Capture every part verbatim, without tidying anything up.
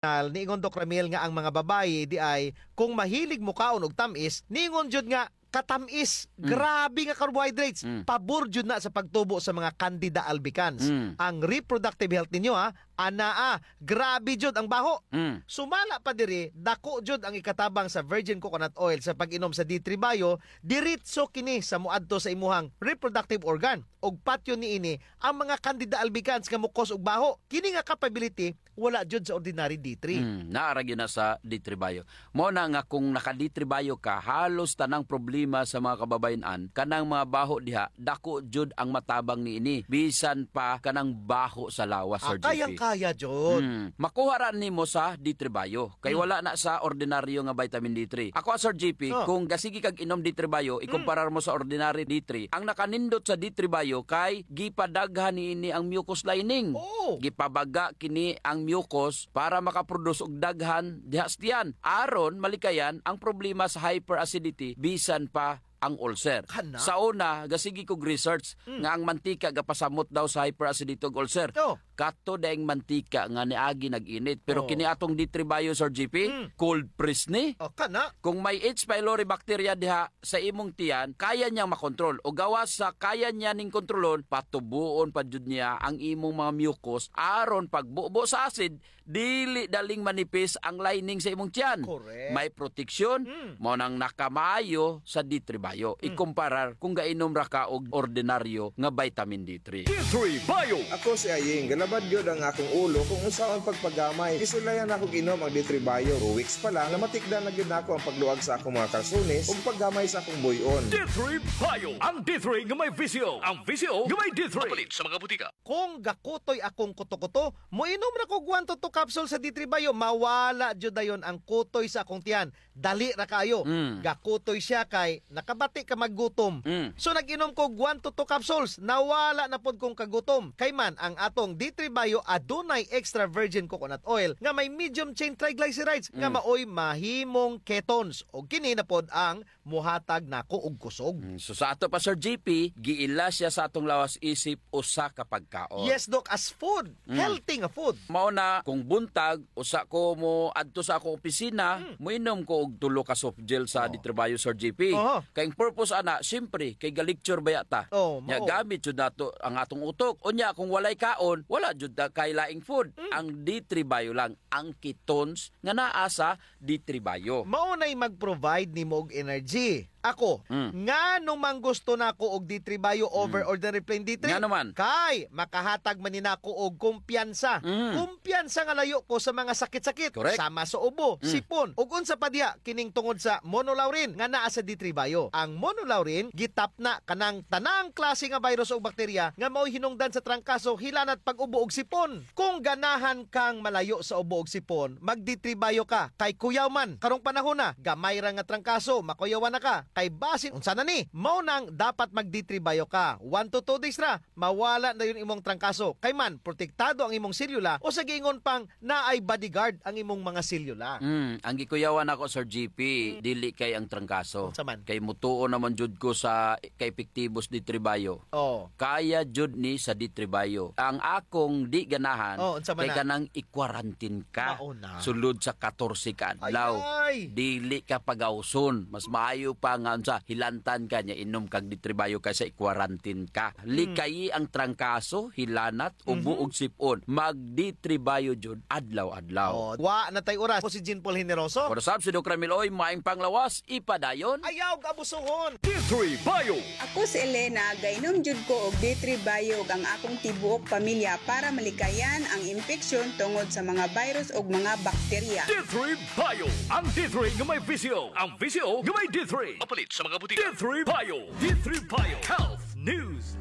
Niingon, Doc Ramil, nga ang mga babayi diay kung mahilig mokaon og tam-is, niingon jud nga katam-is, grabe nga carbohydrates, pabor jud na sa pagtubo sa mga candida albicans. Ang reproductive health ninyo, ha, anaa, grabe jud ang baho. Sumala pa diri, dako jud ang ikatabang sa virgin coconut oil sa pag-inom sa D three Bio, diretso kini sa moadto sa imuhang reproductive organ. Ug patyon niini ang mga candida albicans nga mo-cause og baho. Kini nga capability wala jud sa ordinary D three. Hmm, naa ra gyud na sa D three Bio. Mao na nga kung naka-D three Bio ka, halos tanang problema sa mga kababayen-an, kanang mga baho diha, dako jud ang matabang niini. Bisan pa kanang baho sa lawas, Sir J P. Ah, kayang-kaya jud. Hmm. Makuha ra nimo sa D three Bio. Kay wala na sa ordinaryo nga vitamin D three. Ako, ah, Sir J P, kung gasige kag inom D three Bio, ikumparar mo sa ordinary D three, ang nakanindot sa D three Bio kay gipadaghan niini ang mucus lining. Oo. Gipabaga kini ang mucus para makaproduce og daghan diha sa tiyan. Aron malikayan ang problema sa hyperacidity, bisan pa ang ulcer. Kana? Sa una, gasige kog research nga ang mantika gapasamot daw sa hyperacidity ug ulcer. Oh. Kato daing mantika nga niagi nag-init. Pero kini atong D three Bio, Sir J P, cold press ni. Oh, kana? Kung may H. pylori bacteria diha sa imong tiyan, kaya niyang makontrol. O gawas sa kaya niya ning kontrolon, patubuon pa jud niya ang imong mga mucus aron pagbubo sa acid, dili daling manipis ang lining sa imong tiyan. Correct. May proteksyon, mao nang nakamaayo sa D three Bio. Ikumparar kung gainom ra ka og ordinaryo nga vitamin D three. D three Bio. Ako si Aying, galabad gyud ang akong ulo kung unsaon pagpagamay. Gisulayan nako og inom ang D three Bio. Two weeks pa lang, namatikdan na gyud nako ang pagluag sa akong mga kalsones ug paggamay sa akong buy-on. D three Bio. Ang D three nga may visyo. Ang visyo nga may D three. Mapalit sa mga butika. Kung gakutoy akong kuto-kuto, moinom ra kog one to two capsule sa D three Bio, mawala jud dayon ang kutoy sa akong tiyan. Dali ra kaayo. Mm. Gakutoy siya kay nakabati ka maggutom. Mm. So, nag-inom kog one to two capsules. Nawala na pod kong kagutom. Kay man, ang atong D three Bio adunay extra virgin coconut oil nga may medium chain triglycerides nga maoy mahimong ketones. Ug kini na pod ang muhatag nako og kusog. Mm, so sa ato pa, Sir J P, giila siya sa atong lawas isip usa ka pagkaon. Yes, Doc, as food. Mm. Healthy nga food. Mao na, kung buntag, usa ko moadto sa akong opisina, moinom ko og tulo ka soft gel sa D three Bio, Sir J P. Oho. Kay ang purpose ana, siyempre, kay ga-lecture baya ta. Oh, nya mao. Gamit jud nato ang atong utok. Unya, kung walay kaon, wala jud ta kay laing food. Mm. Ang D three Bio lang, ang ketones nga naa sa D three Bio. Mao nay mag-provide nimo og energy. Ako, mm, ngano man gusto nako og D three Bio over ordinary plain D three? Ngano man? Kay makahatag man ni nako og kumpiyansa. Mm. Kumpiyansa nga layo ko sa mga sakit-sakit, correct, sama sa ubo, mm, sipon, ug unsa pa diha kining tungod sa monolaurin nga naa sa D three Bio. Ang monolaurin gitapna kanang tanang klase nga virus o bakterya nga maoy hinungdan sa trangkaso, hilanat, pag-ubo ug sipon. Kung ganahan kang malayo sa ubo ug sipon, mag-D three Bio ka. Kay kuyaw man, karong panahona, gamay ra nga trangkaso, makuyawan na ka. Kay basin unsa na ni? Mao nang dapat mag-D three Bio ka. One to two days ra, mawala na dayon imong trangkaso. Kay man, protektado ang imong selula, usa giingon pang naay bodyguard ang imong mga selula. Mm, ang gikuyawan nako, Sir J P, mm, dili kay ang trangkaso. Unsa man? Kay mutuo na man jud ko sa kaepektibo sa D three Bio. Oh. Kaya jud ni sa D three Bio. Ang akong di ganahan, oh, unsa man kay na? Kanang i-quarantine ka. Mao na. Sulod sa katorse ka adlaw. Ay, ay. Dili ka pagawson. Mas maayo pa nga unsa, hilantan ka nya inom kag D three Bio kaysa i-quarantine ka. Hmm. Likayi ang trangkaso, hilanat, ubo, mhm, ug sipon. Mag-D three Bio jud adlaw-adlaw. Oh, wa na tay oras. Ako si Jean Paul Generoso. Ako na sab si Doc Ramil Oy, maayong panglawas, ipadayon. Ayaw og abusohon. D three Bio. Ako si Elena, gainom jud ko og D three Bio ug ang akong tibuok pamilya para malikayan ang impeksyon tungod sa mga virus ug mga bakterya. D three Bio. Ang D three nga may visyo. Ang visyo nga may D three. Mapalit sa mga butika. D three Bio. D three Bio. Health News.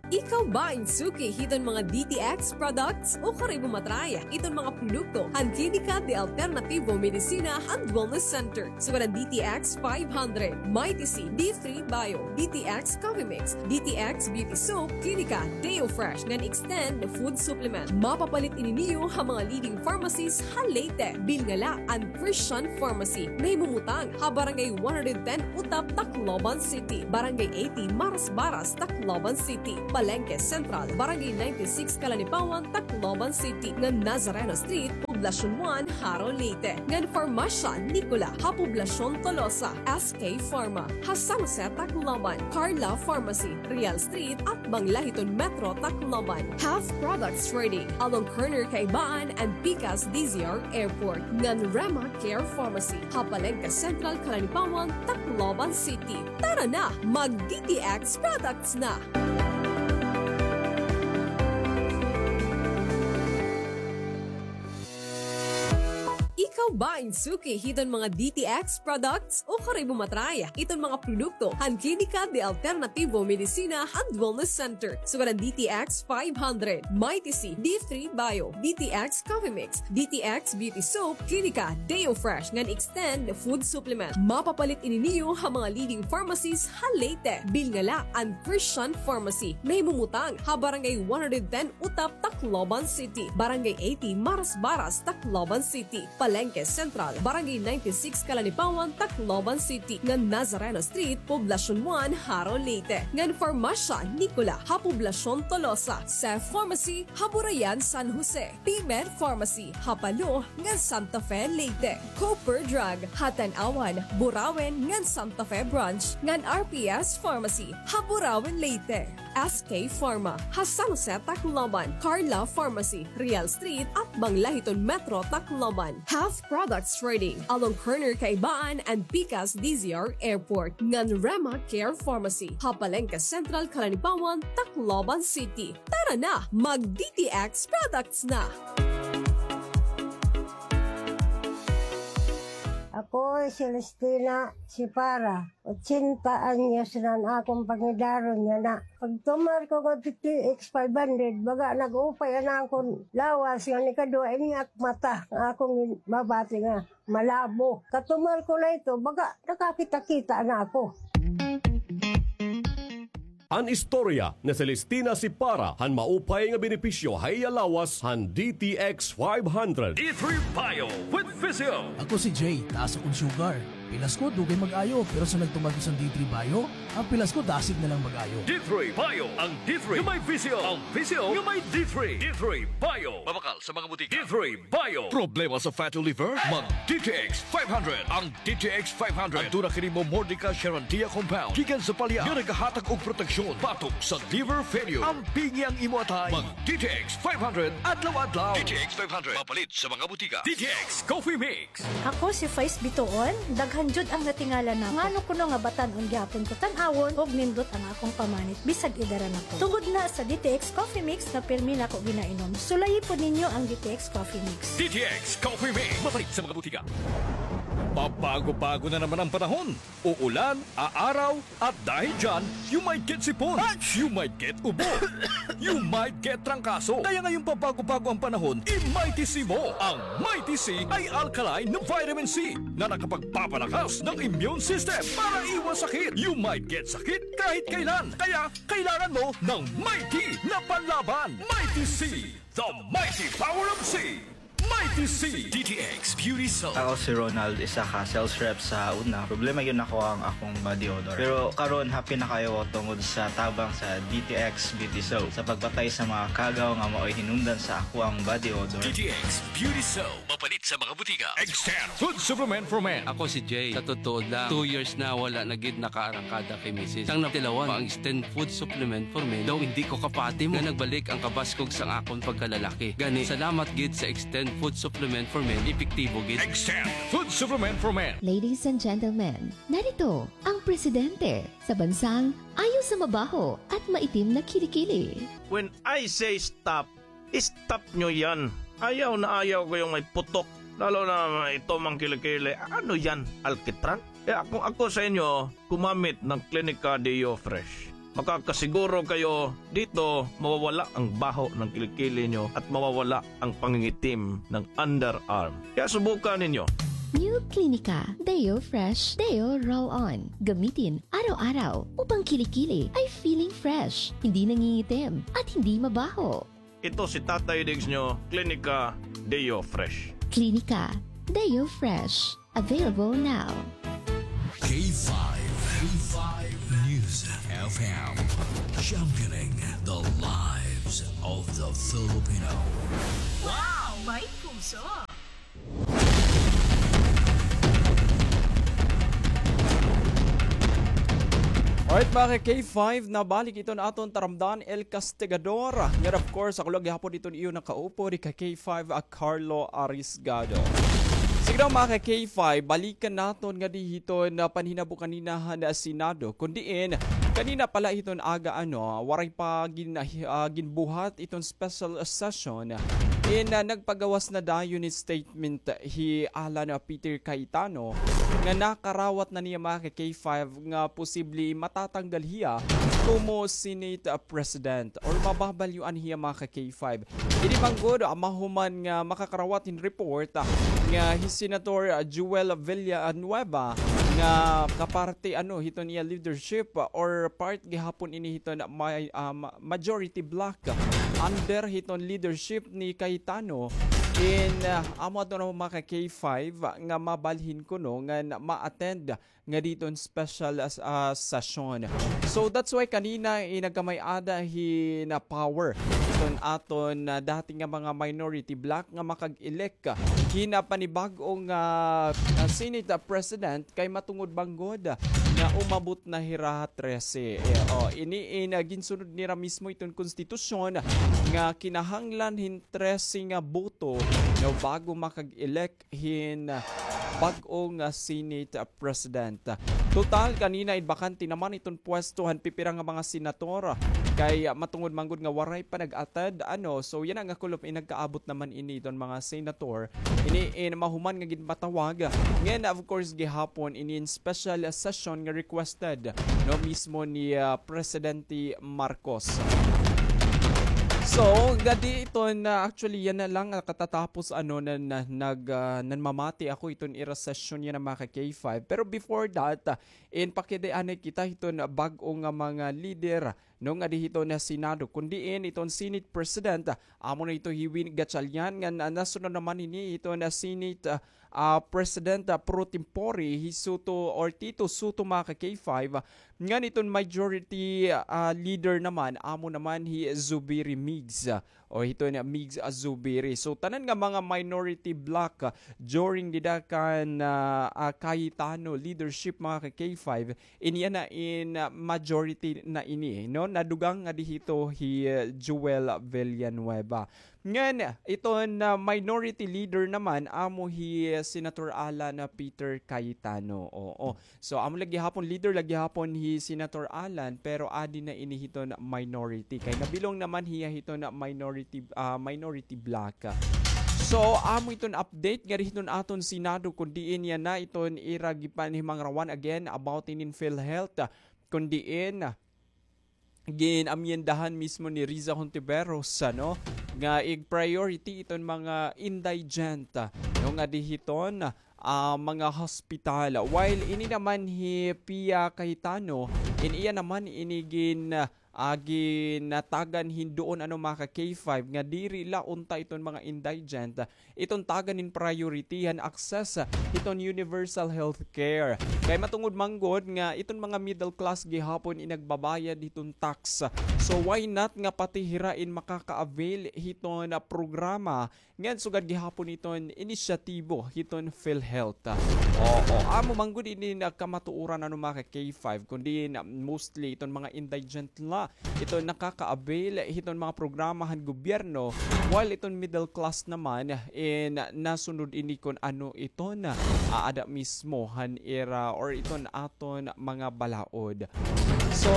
Ikaw ba in suki hiton mga D T X products? Ukon imo ma-try iton mga produkto han Klinika de Alternativo Medicina and Wellness Center. Sugad an D T X five hundred, Mighty C, D three Bio, D T X Coffee Mix, D T X Beauty Soap, Klinika Deo Fresh ngan Extend Food Supplement. Mapapalit ini niyo ha mga leading pharmacies ha Leyte. Bilngala an Christian Pharmacy. Nahimumutang ha Barangay one hundred ten Utap, Tacloban City. Barangay eighty Marasbaras, Tacloban City. Palengke Central, Barangay ninety-six Calanipawan, Tacloban City, ngan Nazareno Street, Poblacion one, Jaro, Leyte, ngan Farmacia Nicola, ha Poblacion Tolosa, S K Pharma, ha San Jose, Tacloban, Carla Pharmacy, Real Street, atbang la hiton Metro Tacloban, Half Products Trading, along corner Caibaan and Pikas D Z R Airport, ngan Rema Care Pharmacy, ha Palengke Central, Calanipawan, Tacloban City. Tara na, mag D T X products na! Ikaw ba in suki hiton mga D T X products? O kari mo matry iton mga produkto han Klinika de Alternativo Medicina and Wellness Center, sugad an D T X five hundred, Mighty C, D three Bio, D T X Coffee Mix, D T X Beauty Soap, Klinika Deo Fresh, ngan Extend Food Supplement. Mapapalit ini niyo ha mga leading pharmacies ha Leyte. Bilnga la an Christian Pharmacy. Nahimumutang ha Barangay one hundred ten Utap, Tacloban City, Barangay eighty Marasbaras, Tacloban City, Palengke Central, Barangay ninety-six Calanipawan, Tacloban City, ngan Nazareno Street, Poblacion one, Jaro, Leyte, ngan Farmacia Nicola ha Poblacion Tolosa, Seth Pharmacy ha Burayan, San Jose, P-Med Pharmacy ha Palo ngan Santa Fe, Leyte, Cooper Drug ha Tanauan, Burauen ngan Santa Fe Branch, ngan R P S Pharmacy ha Burauen, Leyte. S K Pharma ha San Jose, Tacloban, Carla Pharmacy, Real Street, atbang la hiton Metro Tacloban, Half Products Trading, along corner Caibaan and Pikas D Z R Airport, ngan Rema Care Pharmacy ha Palengke Central, Calanipawan, Tacloban City. Tara na, mag D T X products na! Ako hi Celestina Sipara. Ochenta anyos na an akon pangidaron yana. Pagtumar ko nga D T X five hundred, baga nag-upay an akon lawas, ngan ikaduha ini ak mata nga akon mabati nga malabo. Katumar ko na ito, baga nakakita-kita na ako. An istorya ni Celestina Sipara han maupay nga benepisyo ha iya lawas han D T X five hundred. D three Bio with Physio. Ako si Jay, taas akon sugar. Pilas ko, dugay mag-ayo, pero sa nagtumar ko san D three Bio, an pilas ko dasig na lang mag-ayo. D three Bio, an D three nga may Physio, an Physio nga may D three. D three Bio. Mabakal sa mga butika. D three Bio. Problema sa fatty liver? Mag D T X five hundred. An D T X five hundred. Aduna kini Momordica charantia compound gikan sa palya nga nagahatag og proteksyon batok sa liver failure. Ampingi an imo atay. Mag D T X five hundred adlaw-adlaw. D T X five hundred. Mapalit sa mga butika. D T X Coffee Mix. Ako si Faiz Bituon, daghan jud an natingala nako. Ngano kuno nga batan-on gihapon ko tan-awon ug nindot an akong pamanit bisag edad na ko. Tungod na sa D T X Coffee Mix nga pirmi nako ginainom. Sulayi pod ninyo an D T X Coffee Mix. D T X Coffee Mix. Mapalit sa mga butika. Pabago-bago na naman ang panahon. Uulan, aaraw, at dahil dyan, you might get sipon, you might get ubo, you might get trangkaso. Kaya ngayong pabago-bago ang panahon, i-Mighty C mo. Ang Mighty C ay alkaline na vitamin C na nakapagpapalakas ng immune system para iwas sakit. You might get sakit kahit kailan. Kaya kailangan mo ng Mighty na panlaban. Mighty C, the mighty power of C. Mighty C. D T X Beauty Soap. Ako si Ronald, isa ka sales rep sa una. Problema gyud nako ang akong body odor. Pero karon, happy na kaayo ko tungod sa tabang sa D T X Beauty Soap sa pagpatay sa mga kagaw nga maoy hinungdan sa akoang body odor. D T X Beauty Soap. Mapalit sa mga butika. Extend Food Supplement for Men. Ako si Jay. Sa totoo lang, two years na wala na gid nakaarangkada kay misis. Sang natilawan pa ang Extend Food Supplement for Men, daw hindi ko kapati mo nga nagbalik ang kabaskog sang akon pagkalalaki. Gani, salamat gid sa Extend Food Supplement for Men, epektibo gid. Extend Food Supplement for Men. Ladies and gentlemen, narito ang presidente sa bansang ayaw sa mabaho at maitim na kilikili. When I say stop, stop nyo yan. Ayaw na ayaw ko yung may putok. Lalo na ito, mga kilikili. Ano yan? Alkitran? Kaya kung ako sa inyo, gumamit ng Clinica Deo Fresh. Makakasiguro kayo dito, mawawala ang baho ng kilikili nyo at mawawala ang pangingitim ng underarm. Kaya subukan ninyo. New Clinica Deo Fresh Deo Roll-On. Gamitin araw-araw upang kilikili ay feeling fresh, hindi nangingitim, at hindi mabaho. Ito si Tatay Diggs nyo, Clinica Deo Fresh. Clinica Deo Fresh. Available now. K five, K five News F F M, championing the lives of the Filipino. Wow! May puso! Alright, mga ka-K five, nabalik iton aton taramdan, El Castigador. Ngan, of course, ako la gihapon iton iyo nakaupo, di ka K five, a Carlo Arisgado. Sige daw, mga ka-K five, balikan naton ngadi hiton panhinabo kanina han Senado. Kun diin, kanina pala hiton aga, ano, waray pa gin-, ah, ginbuhat iton special session. In, ah, nagpagawas na dayon hin statement hi Alan, ah, Peter Cayetano nga nakarawat na niya, mga ka-K five, nga posible matatanggal hiya komo Senate, ah, President or mababalyuan hiya, mga ka-K five. Ini man gud, ah, mahuman nga makakarawat hin report, ah, nga hi Senator, ah, Joel Villanueva nga kaparte, ano, hiton iya leadership, ah, or part gihapon ini hiton ma-, ah, ma-, majority bloc, ah, under hiton leadership ni Cayetano. In, ah, amo ato na, mga ka-K five, ah, nga mabalhin kuno nga ma-attend ngadi hiton special, ah, session. So that's why kanina, eh, nagkamay-ada hin power hiton aton, ah, dati nga mga minority bloc nga makag-elect hin panibag-o nga, ah, Senate, ah, President kay matungod man gud nga umabot na hira ha trese. Eh, oh, ini in, ah, ginsunod nira mismo iton konstitusyon nga kinahanglan hin trese nga boto, no, bago makag-elect hin, ah, bag-o nga Senate, ah, President. Total, kanina in bakante naman iton pwesto han pipira nga mga senator. Kay, ah, matungod man gud nga waray pa nag-attend, ano, so yana nga kulop in nagkaabot naman ini iton mga senator. Ini in mahuman nga ginpatawag. Ngan, of course, gihapon ini in special session nga requested, no, mismo ni, ah, Presidente Marcos. So, ngadi iton, actually, yana la nga katatapos, ano, na, na, nag, ah, nanmamati ako iton ira session yana, mga ka-K five. Pero before that, ah, in pakidianay kita hiton bag-o nga mga leader, no, ngadi hiton Senado, kun diin iton Senate President, ah, amo na ito hi Win Gatchalian, ngan, ah, nasunod naman ini iton Senate, ah, ah, President, ah, pro tempore hi Sotto or Tito Sotto, mga ka-K five, ah, ngan iton majority, ah, leader naman, amo naman hi Zubiri Migs, ah, o hiton Migs, ah, Zubiri. So, tanan nga mga minority bloc, ah, during dida kan, ah, ah, Cayetano leadership, mga ka-K five, ini yana in, ah, majority na ini, no? Nadugang ngadi hito hi, ah, Joel Villanueva. Ngan, iton, ah, minority leader naman, amo hi, ah, Senator Alan, ah, Peter Cayetano. Oo. So, amo la gihapon, leader la gihapon hi Senator Alan, pero adi na ini hiton minority. Kay nabilong naman hiya hiton minority, ah, minority bloc. So, amo iton update ngadi hiton aton Senado, kun diin yana iton ira gipanhimangrawan again about inin PhilHealth, kun diin gin-amyendahan mismo ni Riza Hontiveros, ano, nga ig-priority iton mga indigent, no, ngadi hiton, ah, mga hospital. While ini naman hi Pia Cayetano, in iya naman ini gin-, ah, ginatagan hin duon, ano, mga ka-K five, nga diri la unta iton mga indigent iton tagan hin priority han access hiton universal health care. Kay matungod man gud nga iton mga middle class gihapon in nagbabayad hiton tax. So why not nga pati hira in makaka-avail hiton, ah, programa ngan sugad gihapon iton inisyatibo hiton PhilHealth. Oo, amo man gud ini nagkamatuoran, ano, mga ka-K five, kundi na mostly iton mga indigent la iton nakaka-avail hiton mga programa han gobyerno, while iton middle class naman, in nasunod ini kun ano iton aada mismo han ira or iton aton mga balaod. So,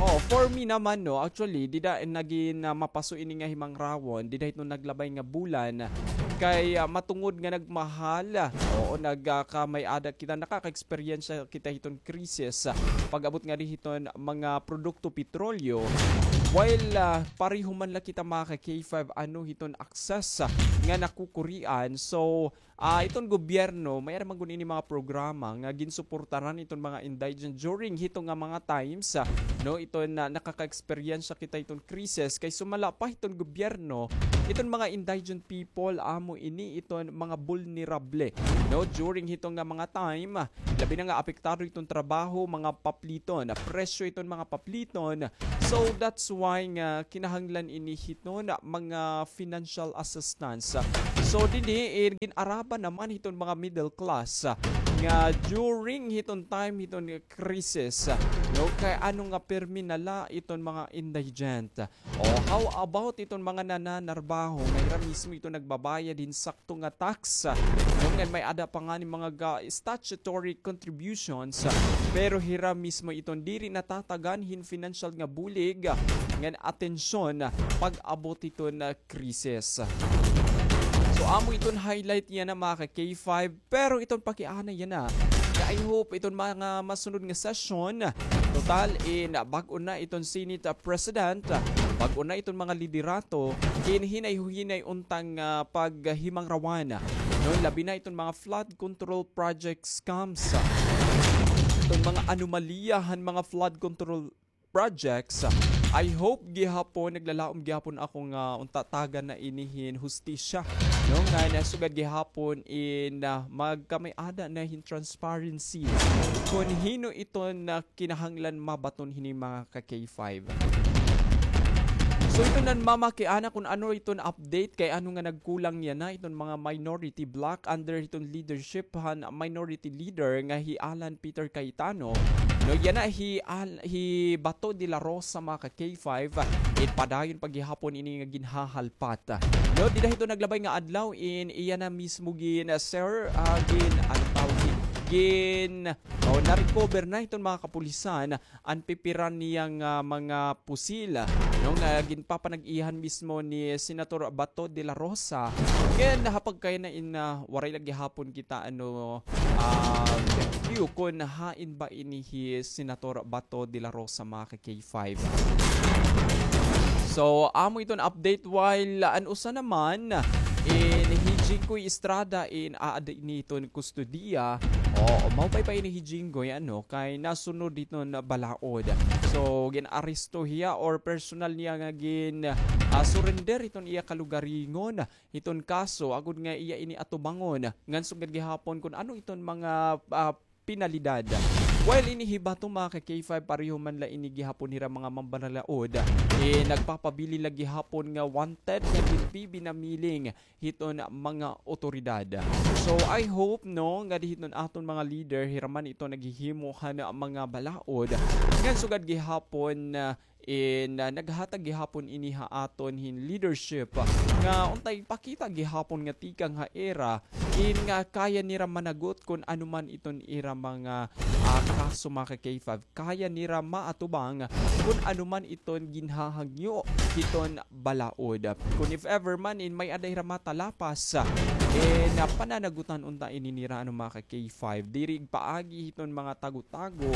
oh, for me naman, no, actually, dida nagin, ah, mapaso ini nga himangrawon, dida hiton naglabay nga bulan, kay, ah, matungod nga nagmahal, oo, nag, ah, kamay-ada kita, nakaka-eksperyensya kita hiton krisis, ah, pag-abot ngadi hiton mga produkto petrolyo, while, ah, pareho man la kita, mga ka-K five, ano hiton access, ah, nga nakukurian. So, ah, iton gobyerno, may-ada man gud ini mga programa nga ginsuportaran iton mga indigent during hito nga mga time times, ah, no, iton na nakaka-eksperyensya kita iton krisis, kay sumala pa hiton gobyerno, iton mga indigent people, amo ini iton mga bulnerable, no, during hiton nga mga time, ah, labi na nga apektado iton trabaho, mga papliton, ah, presyo iton mga papliton. So, that's why nga kinahanglan ini hiton mga financial assistance. So, dinhi, eh, gin-araban naman hiton mga middle class, ah, nga during hiton time hiton krisis, no, kay ano nga pirmi na la iton mga indigent. O, how about iton mga nananarbaho nga hira mismo iton nagbabayad hin sakto nga tax, no, ngan may-ada pa ngani mga ga-, statutory contributions, pero hira mismo iton diri natatagan hin financial nga bulig ngan atensyon pag-abot hiton krisis. So, amo iton highlight yana, mga ka-K five. Pero iton pakiana yana, nga I hope iton mga masunod nga session, total in bag-o na iton Senate, ah, President, bag-o na iton mga liderato, in hinay-hinay unta nga paghimangrawan. No, labi na iton mga flood control project scams, iton mga anomalya han mga flood control projects. I hope gihapon, naglalaom gihapon ako nga unta tagan na ini hin hustisya, no, nga nasugad gihapon in, ah, magkamay-ada na hin transparency kon hin-o iton kinahanglan mabaton hini, mga ka-K five. So, iton nanmamakiana kon ano iton update, kay ano nga nagkulang yana iton mga minority bloc under hiton leadership han minority leader nga hi Alan Peter Cayetano. No, yana hi Al-, hi Bato de la Rosa, mga ka-K five, it padayon pa gihapon ini nga ginhahalpat. No, dida hiton naglabay nga adlaw in iya na mismo gin, ah, sir, ah, gin, ano tawag, gin, oh, na-recover na hiton mga kapulisan an pipiran niya nga mga pusil, no, nga ginpapanag-iyahan mismo ni Senator Bato de la Rosa. Ngan ha pagkayana in, ah, waray la gihapon kita, ano, ah, view kon hain ba ini hi Senator Bato de la Rosa, mga ka-K five. So, amo iton update, while an usa naman in hi Jinggoy Estrada in aada ini hiton kustodiya. O, maupay pa ini hi Jinggoy, ano, kay nasunod hiton balaod. So, gin-aresto hiya or personal niya nga gin, ah, surrender hiton iya kalugaringon hiton kaso, agod nga iya ini atubangon ngan sugad gihapon kon ano iton mga, ah, penalidad. While ini hi Bato, mga ka-K five, pareho man la ini gihapon hira mga manbalaod, eh, nagpapabilin la gihapon nga wanted nga ginbibinamiling hiton mga otoridad. So, I hope, no, nga di hiton aton mga leader, hira man ito naghihimo han mga balaod. Ngan sugad gihapon, ah, in, ah, naghatag gihapon ini ha aton hin leadership, ah, nga untay pakita gihapon nga tikang ha ira, in nga kaya nira managot kon ano man iton ira mga, ah, kaso, mga ka-K five. Kaya nira maatubang kon ano man iton ginhahangyo hiton balaod. Kon if ever man in may-ada hira matalapas, eh, na pananagutan unta ini nira, ano, mga ka-K five. Diri igpaagi hiton mga tago-tago.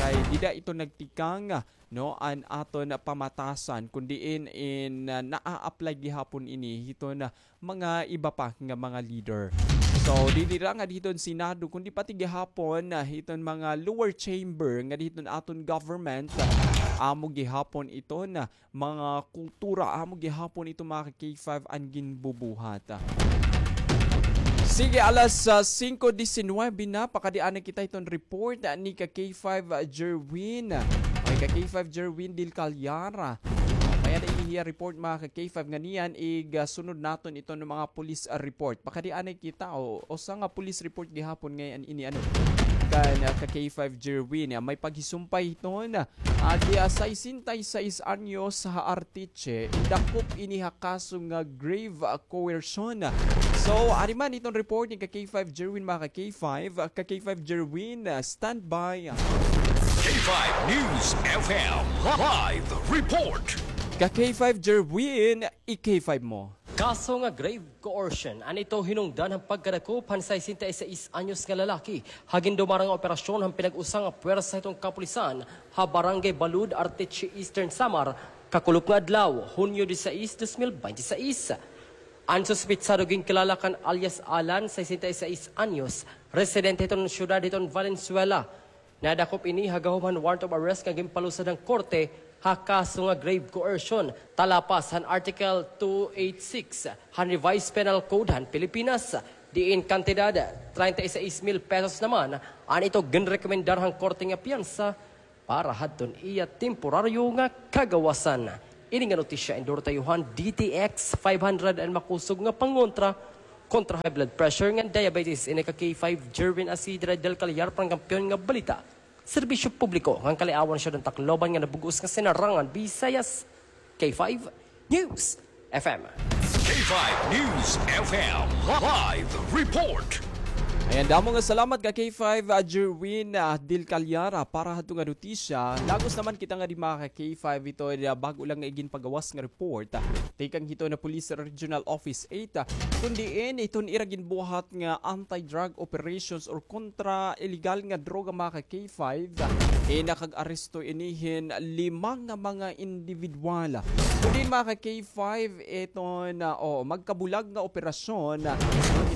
Kay dida ito nagtikang, no, an aton pamatasan, kon diin in, ah, naa-apply gihapon ini hiton mga iba pa nga mga leader. So, diri la nga dihiton Senado, kundi pati gihapon, ah, hiton mga lower chamber nga dihiton aton government, ah, amo gihapon iton, ah, mga kultura, amo gihapon iton mga ka-K five an ginbubuhat. Sige, alas, ah, singko disinwebe na, pakadi anay kita hiton report, ah, ni ka-K five, ah, Jerwin. Okay, ka-K five Jerwin Del Callar. May-ada ini hiya report, mga ka-K five, ngan niyan ig, ah, sunod naton iton mga police, ah, report. Pakadi anay kita, o, usa nga police report gihapon ngay-an ini, ano, kan, ah, ka-K five Jerwin. Ah, may paghisumpay hiton, ah, adi, ah, sesenta y seis anyos ha Arteche, idakop ini ha kaso nga grave, ah, coercion. So, ari man iton report ni ka-K five Jerwin, mga ka-K five, ah, ka-K five Jerwin, ah, stand by. K five News F M live report. Ka-K five Jerwin, i-K five mo. Kaso nga grave coercion, an ito hinungdan han pagkadakop han sesenta y seis anyos nga lalaki ha gindumarang nga operasyon han pinag-usa nga puwersa hiton kapulisan ha Barangay Balud, Arteche, Eastern Samar, kakulop nga adlaw, Hunyo disisais, dos mil bente seis. An suspetsado ginkilala kan alias Alan, sesenta y seis anyos, residente hiton syudad hiton Valenzuela, Nadakop ini ha gahom han warrant of arrest nga ginpalusad han korte ha kaso nga grave coercion, talapas han Article two eight six han Revised Penal Code han Pilipinas, diin kantidad treinta y seis mil pesos naman an ito ginrekomendar han korte nga piyansa para hadton iya temporaryo nga kagawasan. Ini nga notisya endorso han D T X five hundred an makusog nga pangontra kontra high blood pressure ngan diabetes. Ini ka K five, Jerwin Asidre del Callar, para han Kampiyon nga Balita, Serbisyo Publiko ngan Kaliawan, Siyudad han Tacloban nga nabug-os nga sinarangan Bisayas, K five News F M. K five News F M Live Report. Ayan, damo nga salamat ka K five, ah, Jerwin, ah, Dil Calyara para hadto nga notisya. Lagos naman kita ngadi mga ka K five, ito, ah, bag-o lang nga iginpagawas nga report, ah, tikang hiton Police Regional Office eight, ah, kun diin iton ira ginbuhat nga anti-drug operations or kontra illegal nga droga mga ka K five, ah, eh, nakag-aresto ini hin lima nga mga individual. Kun diin mga ka K five, iton, ah, o, magkabulag nga operasyon, ah,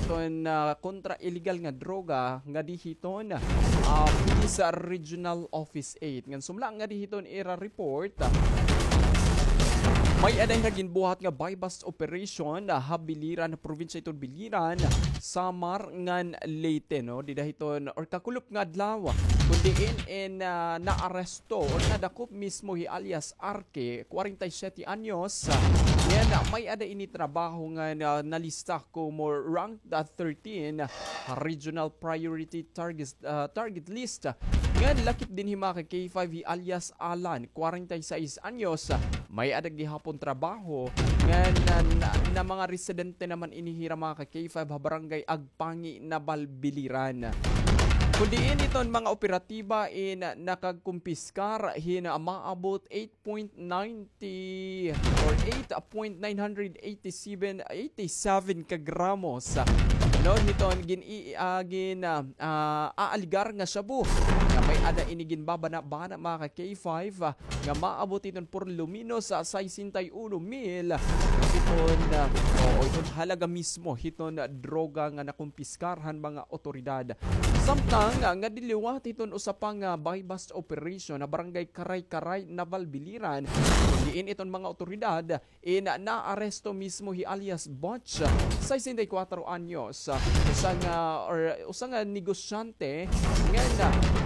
iton, ah, kontra illegal nga droga ngadi hiton, ah, Police Regional Office eight. Ngan sumala ngadi hiton ira report, ah, may-ada hira ginbuhat nga buy-bust operation, ah, ha Biliran, ha probinsya hiton Biliran, Samar ngan Leyte, no? Dida hiton or kakulop nga adlaw, kun diin in, ah, naaresto or nadakop mismo hi alias Arke, kwarenta y siyete anyos. Ngan may-ada ini trabaho nga na-, nalista komo rank, ah, thirteen ha Regional Priority Target, ah, target list. Ngan lakip dinhi mga ka K five hi alias Alan, kwarenta y seis anyos. May-ada gihapon trabaho ngan na, na, na mga residente naman ini hira mga ka K five ha barangay Agpangi, Naval, Biliran. Kun diin iton mga operatiba in nakagkumpiskar hin maabot eight point ninety or eight point nine hundred eighty-seven, eighty-seven ka gramos, no, hiton gin-, i-, ah, gin-, ah, ah, aaligar nga shabu nga may-ada ini ginbabana-bana mga ka K five, ah, nga maabot hiton por lo menos, ah, sesenta y uno mil hiton, ah, o, o, hiton halaga mismo hiton droga nga nakumpiskar han mga otoridad. Samtang, ah, ngadi liwat hiton usa pa nga buy-bust operation ha barangay Karay-Karay, Naval, Biliran, kun diin iton mga otoridad in naaresto mismo hi alias Butch, sesenta y cuatro anyos, usa nga, or usa nga negosyante ngan,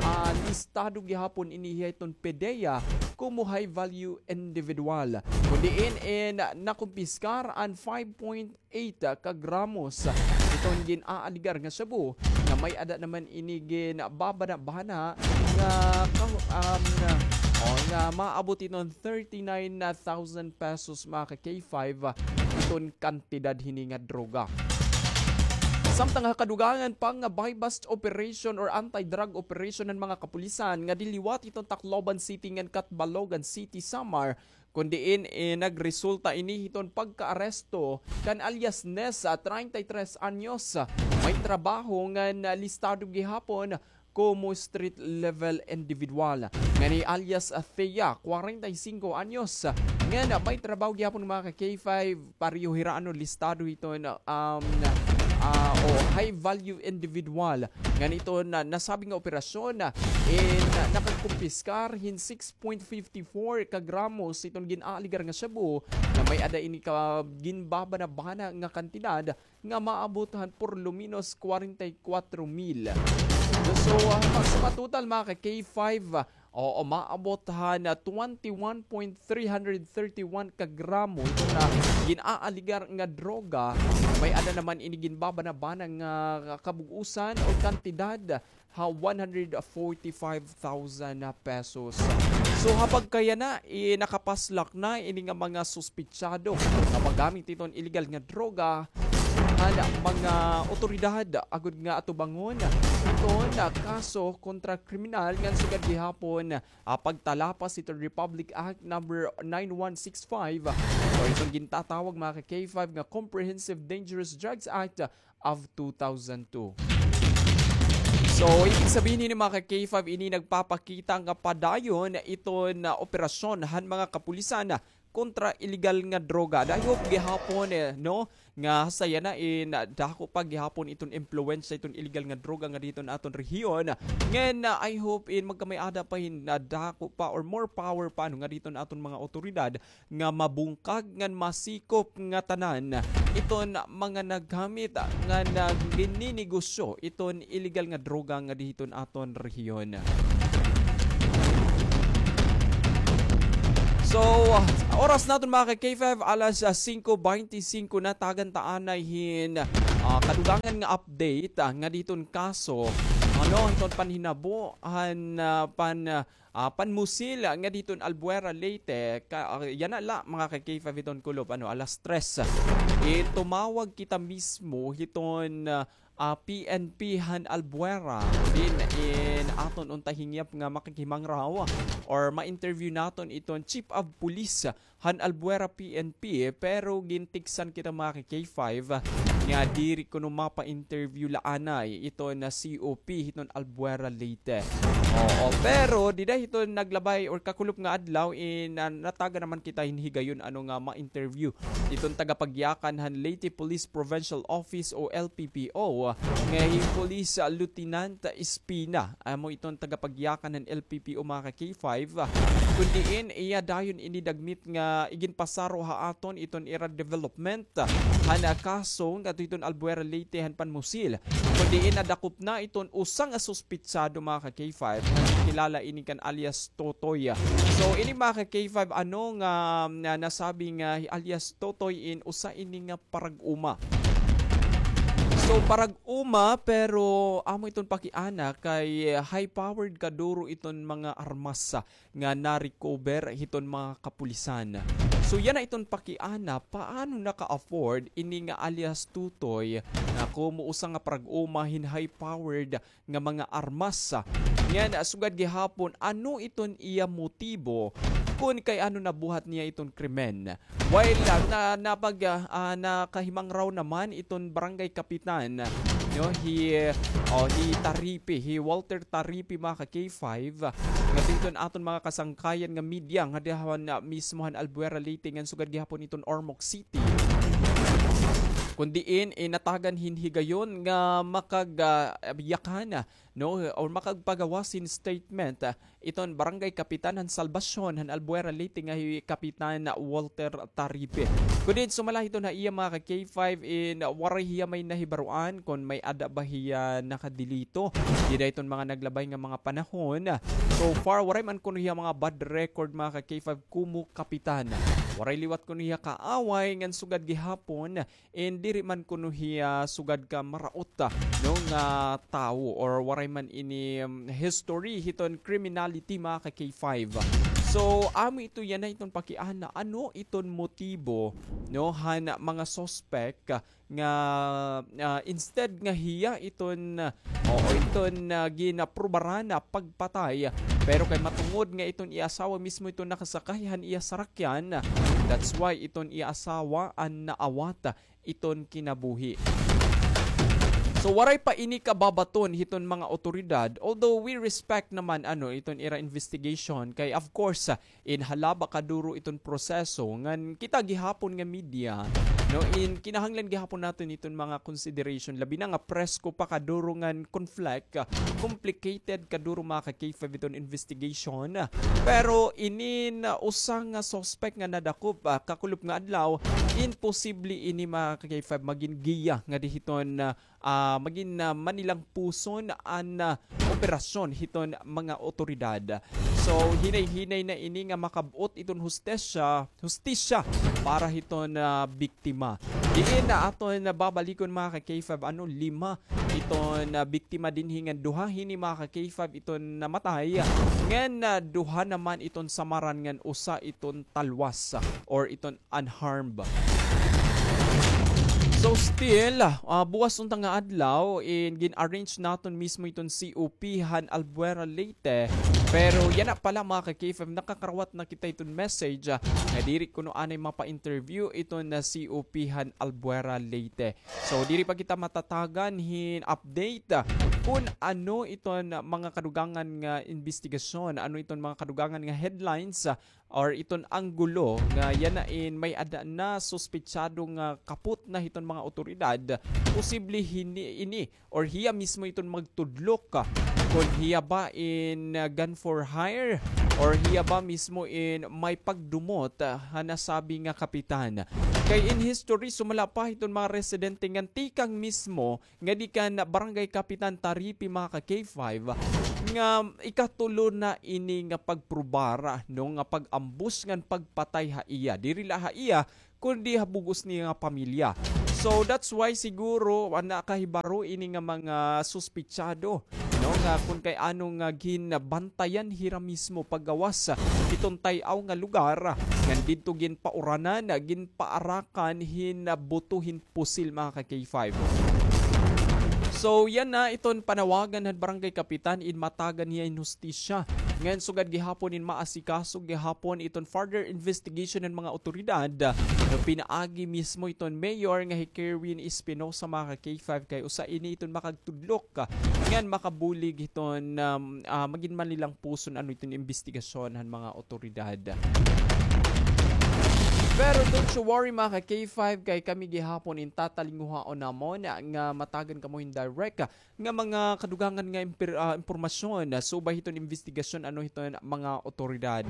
ah, listado gihapon ini hiton PDEA komo high value individual. Kun diin in nakumpiskar an five point eight ka gramos hiton gin-aaligar nga shabu nga may-ada naman ini ginbabana-bana nga kahu-, um, o, nga maabot hiton thirty-nine thousand pesos mga ka K five hiton kantidad hini nga droga. Samtang ha kadugangan pa nga buy-bust operation or anti-drug operation han mga kapulisan ngadi liwat hiton Tacloban City ngan Catbalogan City, Samar, kun diin, eh, nagresulta ini hiton pagkaaresto kan alias Ness, ah, treinta y tres anyos, ah, may trabaho ngan listado gihapon komo street level individual. Ngan hi alias, ah, Thea, kwarenta y singko anyos, ah, ngan may trabaho gihapon mga ka K five, pareho hira ano listado hiton, um, ah, o high value individual. Ngan hiton nasabi nga operasyon, eh, nakagkumpiskar hin six point fifty-four ka gramos hiton gin-aaligar nga shabu nga may-ada ini ka ginbabana-bana nga kantidad nga maabot han por lo menos kwarenta y kwatro mil. So, ah, ma-, sa matotal mga ka K five, ah, oo, maabot han, ah, twenty-one point three hundred thirty-one ka gramo hiton gin-aaligar nga droga. May-ada naman ini ginbabana-bana nga kabug-osan o kantidad ha one hundred forty-five thousand pesos. So, ha pagkayana, eh, nakapaslak na ini nga mga suspitsado nga paggamit hiton illegal nga droga han mga otoridad agod nga atubangon hiton kaso kontra kriminal ngan sugad gihapon, ah, pagtalapas hiton Republic Act number nine one six five, o iton gintatawag mga ka K five nga Comprehensive Dangerous Drugs Act of two thousand two. So, ibig sabihin hini, mga ka K five, ini nagpapakita nga padayon iton, ah, operasyon han mga kapulisan, ah, kontra illegal nga droga. And I hope gihapon, eh, no, nga sa yana in, ah, dako pa gihapon iton impluwensya iton illegal nga droga ngadi hiton aton rehiyon. Ngan, ah, I hope in magkamay-ada pa hin, ah, dako pa or more power pa, ano, ngadi hiton aton mga otoridad nga mabungkag ngan masikop ngatanan iton mga naggamit ngan, ah, gininegosyo iton illegal nga droga ngadi hiton aton rehiyon. So, oras naton, mga ka-K five, alas, ah, singko beintisinko na. Tagan ta anay hin, ah, kadugangan nga update, ah, ngadi hiton kaso, ano, hiton panhinabo han, ah, pan, ah, ah, panmusil ngadi hiton Albuera, Leyte. Ka-, ah, yana la, mga ka-K five, hiton kulop, ano, alas tres. Eh, tumawag kita mismo hiton, ah, ah, P N P han Albuera. Diin in aton unta hingyap nga makikimangraw or ma-interview naton iton Chief of Police han Albuera P N P, pero gintiksan kita, mga ka-K five, nga diri kuno mapa-interview la anay iton C O P hiton Albuera, Leyte. Oo, pero dida hiton naglabay or kakulop nga adlaw, in, ah, natagan naman kita hin higayon, ano, nga ma-interview iton tagapagyakan han Leyte Police Provincial Office o L P P O, nga hi Police, ah, Lieutenant Espina. Amo iton tagapagyakan han L P P O, mga ka-K five. Kun diin iya dayon ini dagmit nga iginpasaro ha aton iton ira development han, ah, kaso ngadto hiton Albuera, Leyte han panmusil. Kun diin nadakop na iton usa nga suspitsado, mga ka-K five, nga kilala ini kan alias Totoy. So, ini, mga ka-K five, ano nga, nga nasabi nga hi alias Totoy in usa ini nga parag-uma. So, parag-uma, pero amo iton pakiana kay high-powered kaduro iton mga armas nga na-recover hiton mga kapulisan. So, yana iton pakiana, paano naka-afford ini nga alias Tutoy nga komo usa nga parag-uma hin high-powered nga mga armas? Ngan, ah, sugad gihapon, ano iton iya motibo kun kay ano nabuhat niya iton krimen? While, ah, na, napag-, ah, ah, nakahimangraw naman iton barangay kapitan, no, hi, oh, hi Taripi, hi Walter Taripi, mga ka-K five, nga iton aton mga kasangkayan nga media nga diha han, ah, mismo han Albuera, Leyte, ngan sugad gihapon iton Ormoc City. Kun diin, eh, natagan hin higayon nga makag-, ah, yakan, no, or makagpagawas hin statement, ah, iton barangay kapitan han Salvacion han Albuera, Leyte nga hi Kapitan Walter Taripi. Kun diin sumala hiton ha iya, mga ka-K five, in, ah, waray hiya may nahibaroan kun may-ada ba hiya nakadelito dida hiton mga naglabay nga mga panahon. So far, waray man kuno hiya mga bad record, mga ka-K five, komo kapitan. Waray liwat kuno hiya kaaway ngan sugad gihapon, and diri man kuno hiya sugad ka maraot, ah, no, nga tawo, or waray man ini, um, history hiton criminality, mga ka-K five. So, amo ito yana iton pakiana, ano iton motibo, no, han mga suspect, ah, nga, ah, instead nga hiya iton, ah, oo, iton, ah, ginaprubaran na pagpatay, pero kay matungod nga iton iya asawa mismo iton nakasakay han iya sarakyan, that's why iton iya asawa an naawat iton kinabuhi. So, waray pa ini kababaton hiton mga otoridad, although we respect naman, ano, iton ira investigation, kay of course, ah, in halaba kaduro iton proseso, ngan kita gihapon nga media, no, in kinahanglan gihapon naton iton mga consideration, labi na nga presko pa kaduro ngan conflict, ah, complicated kaduro, mga ka-K five, iton investigation. Pero inin, ah, usa nga suspect nga nadakop, ah, kakulop nga adlaw, imposible ini, mga ka-K five, magin giya ngadi hiton, ah, ah, magin, ah, manilang puson an, ah, operasyon hiton mga otoridad. So, hinay-hinay na ini nga makab-ot iton hustisya, hustisya para hiton, ah, biktima. Diin na aton babalikon, mga ka-K five, ano, lima iton, ah, biktima dinhi ngan duha hini, mga ka-K five, iton namatay. Ngan, ah, duha naman iton samaran ngan usa iton talwas or iton unharmed. So still, ah, buwas unta nga adlaw, in gin-arrange naton mismo iton C O P han Albuera, Leyte. Pero yana pala, mga ka-K five, nakakarawat na kita iton message, ah, nga diri kuno anay mapa-interview iton, ah, C O P han Albuera, Leyte. So diri pa kita matatagan hin update, ah, kun ano iton mga kadugangan nga imbestigasyon, ano iton mga kadugangan nga headlines, ah, or iton anggulo nga yana in may-ada na suspitsado nga kapot na hiton mga awtoridad, posible hini, ini or hiya mismo iton magtudlok, ah, kon hiya ba in, ah, gun for hire or hiya ba mismo in may pagdumot, ah, ha nasabi nga kapitan. Kay in history, sumala pa hiton mga residente ngan tikang mismo ngadi kan Barangay Kapitan Taripi, mga ka K five, nga ikatulo na ini nga pagprubar, no, nga pag-ambus ngan pagpatay ha iya. Diri la ha iya, kundi ha bug-os niya nga pamilya. So, that's why siguro, ah, nakahibaro ini nga mga suspitsado, no, nga kun kay ano nga ginbantayan hira mismo paggawas iton tay-aw nga lugar, ngan didto ginpauranan, ginpaarakan hin buto hin pusil, mga ka K five. So, yana iton panawagan han barangay kapitan in matagan hiya hin hustisya. Ngan sugad gihapon in maasikaso gihapon iton further investigation han mga awtoridad, no, pinaagi mismo iton mayor nga hi Kerwin Espinosa, mga ka K five, kay usa ini iton makagtudlok, ah, ngan makabulig hiton, um, ah, magin manilang puson ano iton imbestigasyon han mga awtoridad. Pero don't you worry, mga ka K five, kay kami gihapon in tatalinguhaon namon nga matagan kamo hin direct, ah, nga mga kadugangan nga impir-, ah, impormasyon, ah, subay hiton imbestigasyon ano hiton mga awtoridad.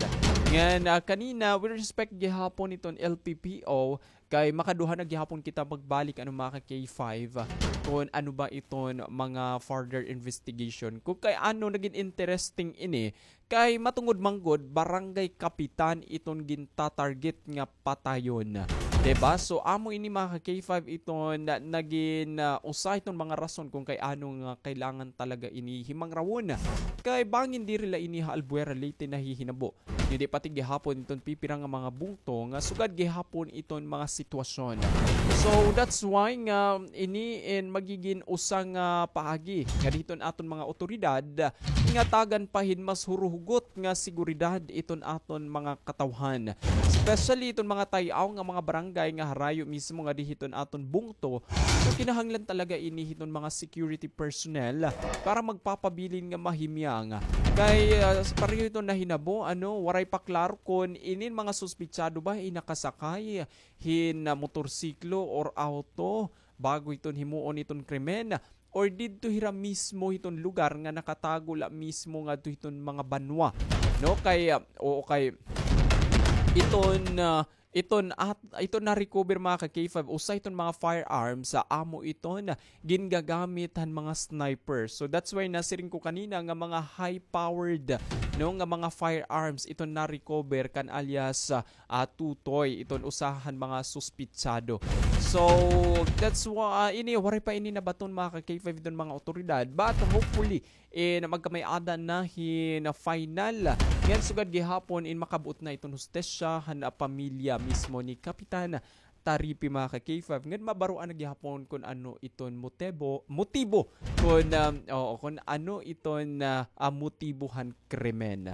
Ngan, ah, kanina, with respect gihapon hiton L P P O, kay makaduha na gihapon kita magbalik, ano, mga ka K five, ah, kon ano ba iton mga further investigation. Kon kay ano nagin interesting ini, kay matungod man gud, barangay kapitan iton gintatarget nga patayon. Diba? So, amo ini, mga ka K five, iton na, nagin, ah, usa iton mga rason kon kay ano nga kailangan talaga ini himangrawon. Kay bangin diri la ini ha Albuera, Leyte nahihinabo. Kundi pati gihapon iton pipira nga mga bungto nga sugad gihapon iton mga sitwasyon. So, that's why nga ini in magigin usa nga paagi ngadi hiton aton mga awtoridad nga tagan pa hin mas huruhugot nga seguridad iton aton mga katawhan. Especially iton mga tay-aw nga mga barangay nga harayo mismo ngadi hiton aton bungto. So, kinahanglan talaga ini hiton mga security personnel para magpapabilin nga mahimyang. Kay, ah, pareho iton nahinabo, ano, waray pa klaro kon inin mga suspitsado ba in nakasakay hin, ah, motorsiklo or auto bago iton himuon iton krimen, or didto hira mismo hiton lugar nga nakatago la mismo ngadto hiton mga banwa, no? Kay, ah, oo, kay iton, ah, iton at, iton na-recover, mga ka K five, usa iton mga firearms, ah, amo iton gingagamit han mga sniper. So that's why nasiring ko kanina nga mga high-powered, no, nga mga firearms iton na-recover kan alias, ah, ah, Tutoy, iton usa han mga suspitsado. So, that's why, ah, ini, waray pa ini nabaton, mga ka K five, iton mga awtoridad. But hopefully, eh, na magkamay-ada na hin final. Ngan sugad gihapon in makabuot na iton hustisya han, ah, pamilya mismo ni Kapitan Taripi, mga ka K five. Ngan mabaroan na gihapon kon ano iton motibo, motibo. Kon, um, oo, kon ano iton, ah, ah, motibo han krimen.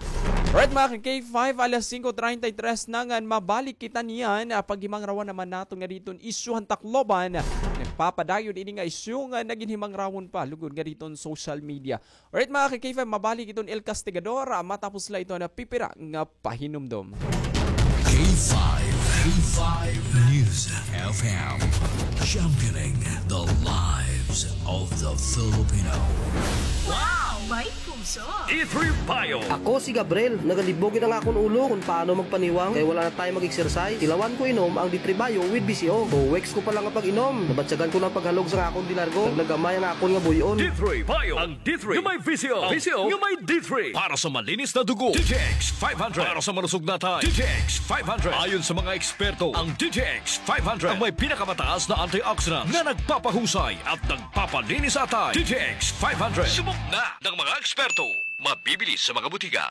Alright, mga ka K five, alas singko treinta y tres na ngan mabalik kita niyan, ah, paghimangrawan naman naton ngadi iton isyu han Tacloban. Nagpapadayon ini nga isyu nga nagin himangrawon pa lugod ngadi iton social media. Alright, mga ka K five, mabalik iton El Castigador, ah, matapos la iton pipira nga pahinumdom. K five, K five News F M, championing the lives of the Filipino. Wow! May puso! D three Bio. Ako si Gabriel. Nagalibog gid an akon ulo kon paano magpaniwang kay wala na tayo mag-exercise. Tilawan ko inom ang D three Bio with B C O. Two weeks ko pa lang nga pag-inom, nabatyagan ko na an paghalog sa akon de largo. Nagnagamay ang akon nga buy-on. D three Bio. Ang D three nga may V C O. V C O nga may D three. Para sa malinis na dugo, D T X five hundred. Para sa malusog na atay, D T X five hundred. Ayon sa mga eksperto, ang D T X five hundred ang may pinakamataas na antioxidant na nagpapahusay at nagpapalinis sa atay. D T X five hundred. Subok na ng mga eksperto. Mabibili sa mga butika.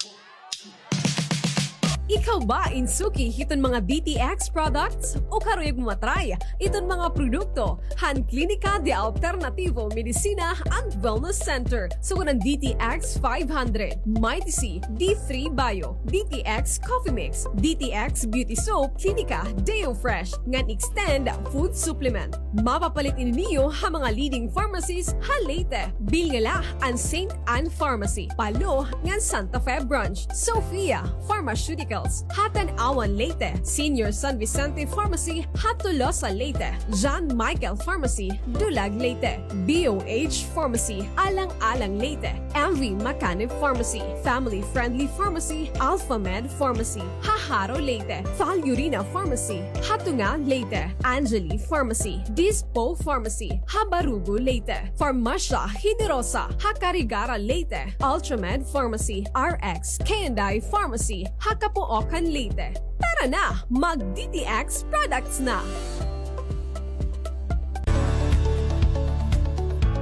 Ikaw ba in suki hiton mga D T X products? O karuyag mo matry iton mga produkto han Klinika de Alternativo Medicina and Wellness Center? Sugad han D T X five hundred, Mighty C, D three Bio, D T X Coffee Mix, D T X Beauty Soap, Klinika Deo Fresh, ngan Extend Food Supplement. Mapapalit ini niyo ha mga leading pharmacies ha Leyte. Bilin la an Saint Ann Pharmacy, Palo, ngan Santa Fe Branch, Sofia Pharmaceuticals, ha Tanauan, Leyte, Senior San Vicente Pharmacy, ha Tolosa, Leyte, John Michael Pharmacy, Dulag, Leyte, B O H Pharmacy, Alang-alang, Leyte, M V Macanib Pharmacy, Family Friendly Pharmacy, Alpha Med Pharmacy, ha Jaro, Leyte, Fal Urina Pharmacy, ha Tunga, Leyte, Angeli Pharmacy, Dispo Pharmacy, ha Barugo, Leyte, Farmasya Generosa, ha Carigara, Leyte, Ultramed Pharmacy, R X K and I Pharmacy, ha Capoocan, Leyte. Tara na, mag D T X products na!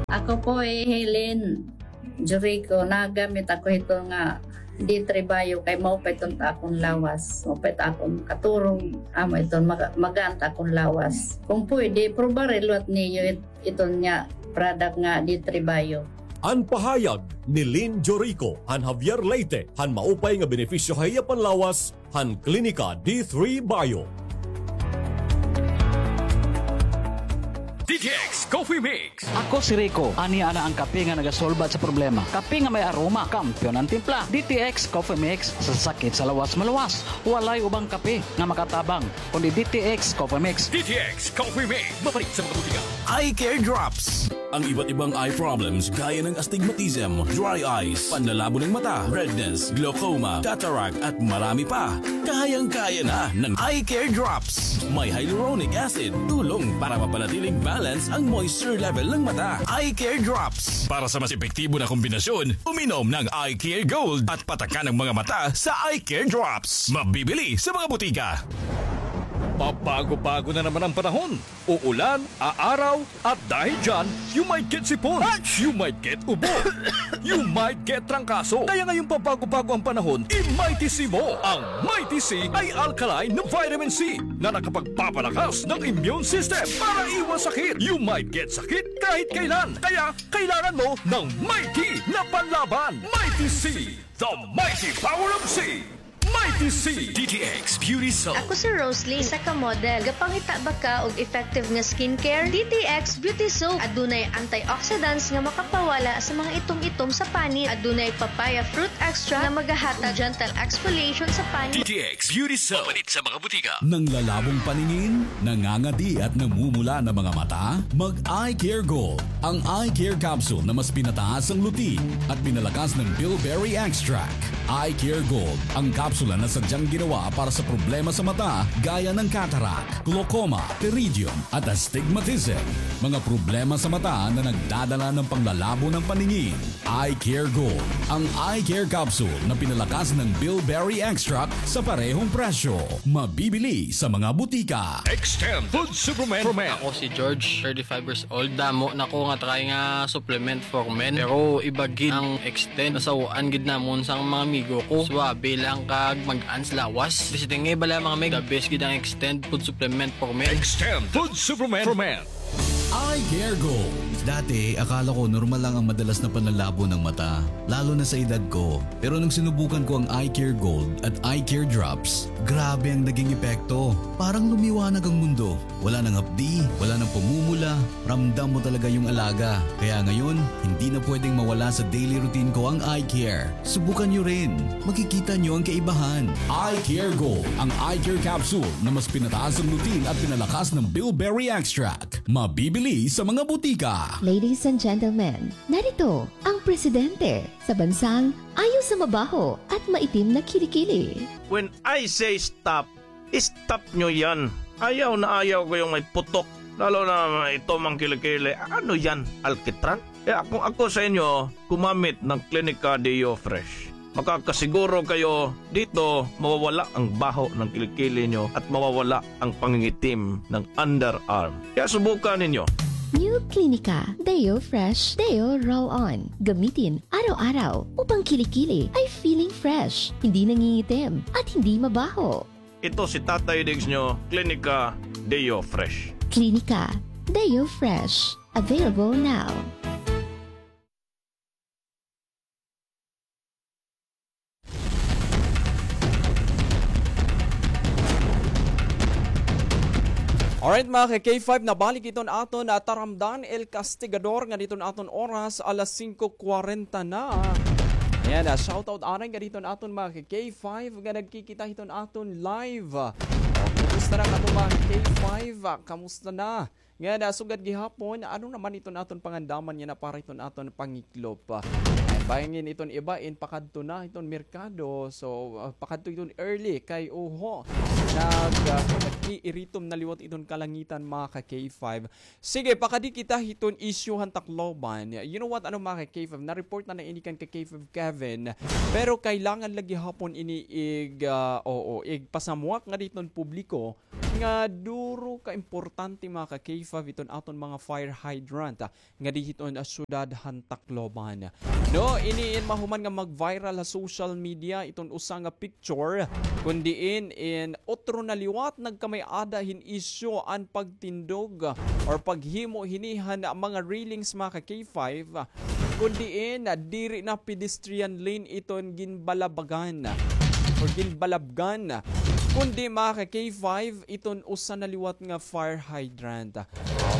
Ako po hi Helen Jericho, nagamit ako hito nga D three Bio kay maupay iton ta akon lawas. Maupay ta akon katurog, amo iton maga-, magaan ta akon lawas. Kung pwede, probari liwat niyo it-, iton nga product nga D three Bio. An pahayag ni Lynn Jorico han Javier, Leyte, han maupay nga benepisyo ha iya panlawas han Klinika D three Bio. D T X Coffee Mix. Ako si Rico. Ania na an kape nga nagasolba sa problema. Kape nga may aroma, kampiyon an timpla. D T X Coffee Mix, sa sakit sa lawas maluwas. Walay ubang kape nga makatabang kundi D T X Coffee Mix. D T X Coffee Mix. Mapalit sa mga butika. Eye Care Drops. Ang iba't ibang eye problems gaya ng astigmatism, dry eyes, panlalabo ng mata, redness, glaucoma, cataract, at marami pa. Kayang-kaya na ng Eye Care Drops. May hyaluronic acid, tulong para mapanatiling balance ang moisture level ng mata. Eye Care Drops. Para sa mas epektibo na kombinasyon, uminom ng Eye Care Gold at patakan ang mga mata sa Eye Care Drops. Mabibili sa mga butika. Pabago-bago na naman ang panahon. Uulan, aaraw, at dahil dyan, you might get sipon, you might get ubo, you might get trangkaso. Kaya ngayong pabago-bago ang panahon, i-Mighty C mo. Ang Mighty C ay alkaline na vitamin C na nakapagpapalakas ng immune system para iwas sakit. You might get sakit kahit kailan. Kaya kailangan mo ng Mighty na panlaban. Mighty C, the mighty power of C. Mighty C. D T X Beauty Soap. Ako si Rosalie, isa ka model. Gapangita ba ka og effective nga skincare? D T X Beauty Soap. Adunay antioxidants nga makapawala sa mga itom-itom sa panit. Adunay papaya fruit extract nga magahatag gentle exfoliation sa panit. D T X Beauty Soap. Mapalit sa mga butika. Nanglalabong paningin, nangangadi at namumula na mga mata? Mag Eye Care Gold, ang eye care capsule na mas pinataas ang luti at pinalakas ng bilberry extract. Eye Care Gold, ang kapsula na sadyang ginawa para sa problema sa mata gaya ng cataract, glaucoma, pterygium, at astigmatism. Mga problema sa mata na nagdadala ng panglalabo ng paningin. Eye Care Gold, ang eye care capsule na pinalakas ng bilberry extract sa parehong presyo. Mabibili sa mga butika. Extend Food Supplement for Men. Ako si George, thirty-five years old. Damo na ko nga try nga supplement for men. Pero iba gid ang Extend. Nasaw-an gid namon sang mga amigo ko. Suabe lang kag mag-an sa lawas. Basta nga bala, mga mig, the best gid ang Extend Food Supplement for Men. Extend Food Supplement for Men. Eye Care Gold. Dati, akala ko normal lang ang madalas na panlalabo ng mata, lalo na sa edad ko. Pero nung sinubukan ko ang Eye Care Gold at Eye Care Drops, grabe ang naging epekto. Parang lumiwanag ang mundo. Wala nang hapdi, wala nang pamumula, ramdam mo talaga yung alaga. Kaya ngayon, hindi na pwedeng mawala sa daily routine ko ang eye care. Subukan nyo rin. Makikita nyo ang kaibahan. Eye Care Gold, ang eye care capsule na mas pinataas ang lutein at pinalakas ng bilberry extract. Mabibili sa mga butika. Ladies and gentlemen, narito ang presidente sa bansang ayaw sa mabaho at maitim na kilikili. When I say stop, stop nyo yan. Ayaw na ayaw ko yung may putok. Lalo na may itom ang kilikili. Ano yan? Alkitran? Kaya kung ako sa inyo, gumamit ng Klinika Deo Fresh. Makakasiguro kayo dito, mawawala ang baho ng kilikili nyo at mawawala ang pangingitim ng underarm. Kaya subukan ninyo. New Klinika Deo Fresh Deo Roll-On. Gamitin araw-araw upang kilikili ay feeling Fresh, hindi nangingitim, at hindi mabaho. Ito si Tatay Diggs nyo, Klinika Deo Fresh. Klinika Deo Fresh. Available now. Alright, mga ka-K five, nabalik iton aton, ah, taramdan, El Castigador, nga diton aton oras, alas singko kwarenta na. Ayan, ah, shoutout anay nga diton aton mga ka-K five nga nagkikita hiton aton live. O, kumusta na kato mga ka-K five? Ah, kamusta na? Nga nasugad gihapon, ano naman iton aton pangandaman yana para iton aton pangiklop? Ay, bangin iton iba in pakadto na iton merkado. So, ah, pakadto iton early kay uho. Nag, ah, nag-iiritom na liwat iton kalangitan, mga ka-K five. Sige, pakadi kita hiton issue han Tacloban. You know what, ano, mga ka-K five, na-report na na ini kan ka-K five Kevin. Pero kailangan lagi hapon ini ig, ah, oo, igpasamwak nga diton publiko nga duro ka importante, mga ka-K five, iton aton mga fire hydrant, ah, nga di hiton, ah, syudad han Tacloban. No, ini in mahuman nga mag-viral ha social media iton usa nga picture, kun diin in otro na liwat nagkamay-ada hin isyu an pagtindog, ah, or paghimo hini han mga railings, mga ka-K five, ah, kun diin, ah, diri na pedestrian lane iton ginbalabagan or ginbalabgan, kundi, mga ka-K five, iton usa na liwat nga fire hydrant. Ah,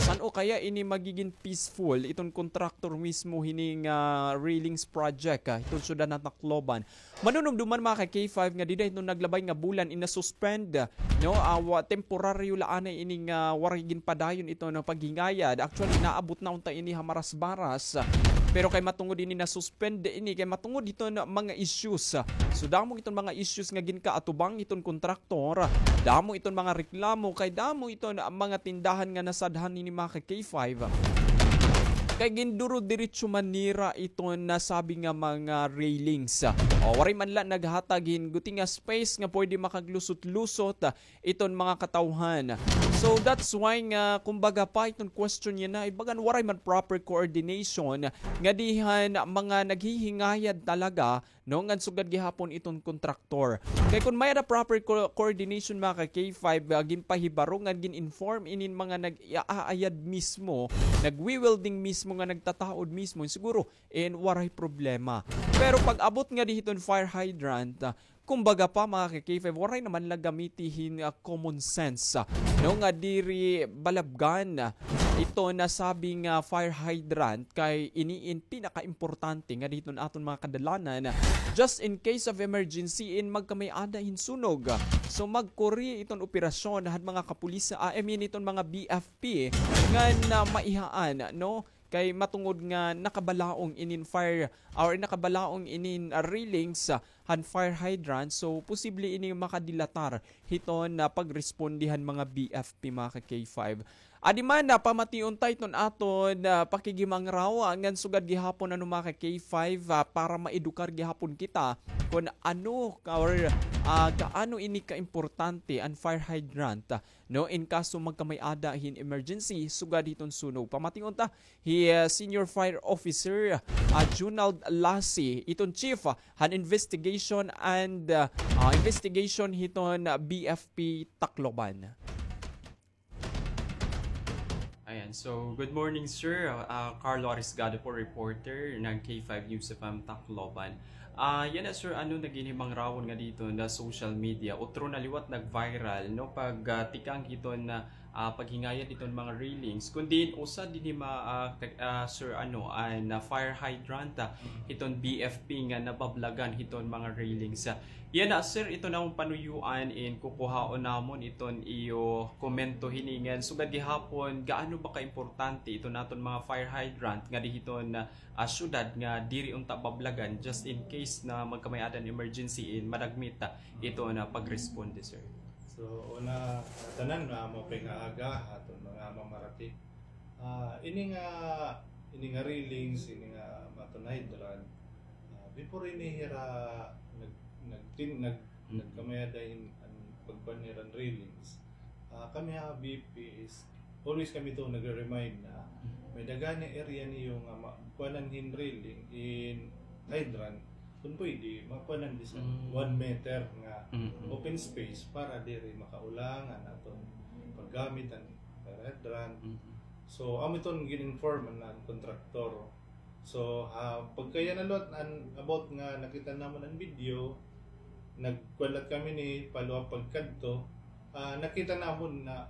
san-o kaya ini magigin peaceful iton kontraktor mismo hini nga railings project, ah, iton syudad han Tacloban? Manunumduman, mga ka-K five, nga dida hiton naglabay nga bulan in na-suspend, no, awa, temporaryo la anay ini nga waray ginpadayon iton paghingayad. Actually, naabot na unta ini ha Marasbaras. Pero kay matungod ini na-suspend ini, kay matungod hiton mga issues. So, damo iton mga issues nga ginkaatubang iton kontraktor. Damo iton mga reklamo, kay damo iton mga tindahan nga nasadhan hini, mga ka-K five. Kay ginduro-diretso man nira iton nasabi nga mga railings. O, waray man la naghatag hin guti nga space nga pwede makaglusot-lusot iton mga katawhan. So, that's why nga, kumbaga pa, iton question yana, ibagan waray man proper coordination nga dihan mga naghihingayad talaga, no, ngan sugad gihapon iton kontraktor. Kay kun may-ada proper co-, coordination, mga ka-K five, ah, ginpahibaro ngan gin-inform inin mga nag-aayad mismo, nagwi-welding mismo nga nagtataod mismo, siguro, eh, waray problema. Pero pag-abot nga di hiton fire hydrant, ah, kumbaga pa, mga ka-K five, waray naman la gamiti hin, ah, common sense, ah, no, nga diri balabgan, ah, ito nasabi nga fire hydrant kay ini in pinakaimportante nga diton aton mga kadalanan, just in case of emergency in magkamay-ada hin sunog. So, magkuri iton operasyon han mga kapulis, ah, I mean, iton mga B F P ngan, ah, maihaan, no? Kay matungod nga nakabalaong inin fire, or nakabalaong inin, ah, railings, ah, han fire hydrant, so posible ini makadilatar hiton, ah, pagresponde han mga B F P, mga ka-K five. Adi man, ah, pamation ta iton aton, ah, pakigimangraw, ah, ngan sugad gihapon, ano, mga ka-K five, ah, para maedukar gihapon kita kun ano ka, or, ah, gaano ini kaimportante an fire hydrant, ah, no, in kaso magkamay-ada hin emergency sugad hiton sunog. Pamation ta hi, ah, Senior Fire Officer, ah, Junald Lassie, iton chief, ah, han investigation and, ah, ah, investigation hiton, ah, B F P Tacloban. Ayan. So, good morning, sir. Ah, Carlo Arisgado po, reporter ng K five News F M Tacloban. Ah, yana, sir, ano, naginhimangrawan nga dito na social media. Utro na liwat nag-viral, no? Pag, ah, tikang hiton, ah, paghingayad hiton mga railings. Kun diin usa dinhi ma-, ah, ka-, ah, sir, ano, an, ah, fire hydrant, ah, hiton B F P nga nabablagan hiton mga railings. Ah, yana, sir, ito na an panuyuan in kukuhaon namon iton iyo komento hini ngan sugad gihapon, gaano ba kaimportante iton aton mga fire hydrant nga di hiton, ah, syudad nga diri unta bablagan just in case na magkamay-ada hin emergency in madagmit, ah, iton, ah, pagresponde, sir? So, una, ah, tanan, ah, maupay nga aga, aton mga mamarati. Ah, ini nga, ini nga railings, ini nga maton hydrant, ah, before ini hira nag-, nagtin-, nag-, nagkamay-ada hin an pagkuan hira hin railings. Ah, kami ha B P P is always kami to nagre-remind na may-ada gani area niyo nga ma-, kuanan hin railing, hin hydrant, Kun pwede, makuan an bisan Mm. one meter nga Mm-mm. open space para diri makaulang an aton paggamit an fire hydrant. Mm-mm. So, amo iton gin-inform an, an kontraktor. So, ha, pagkaya na liwat an about nga nakita namon an video, nagkuan liwat kami ni follow up pagkadto. Ah, nakita namon na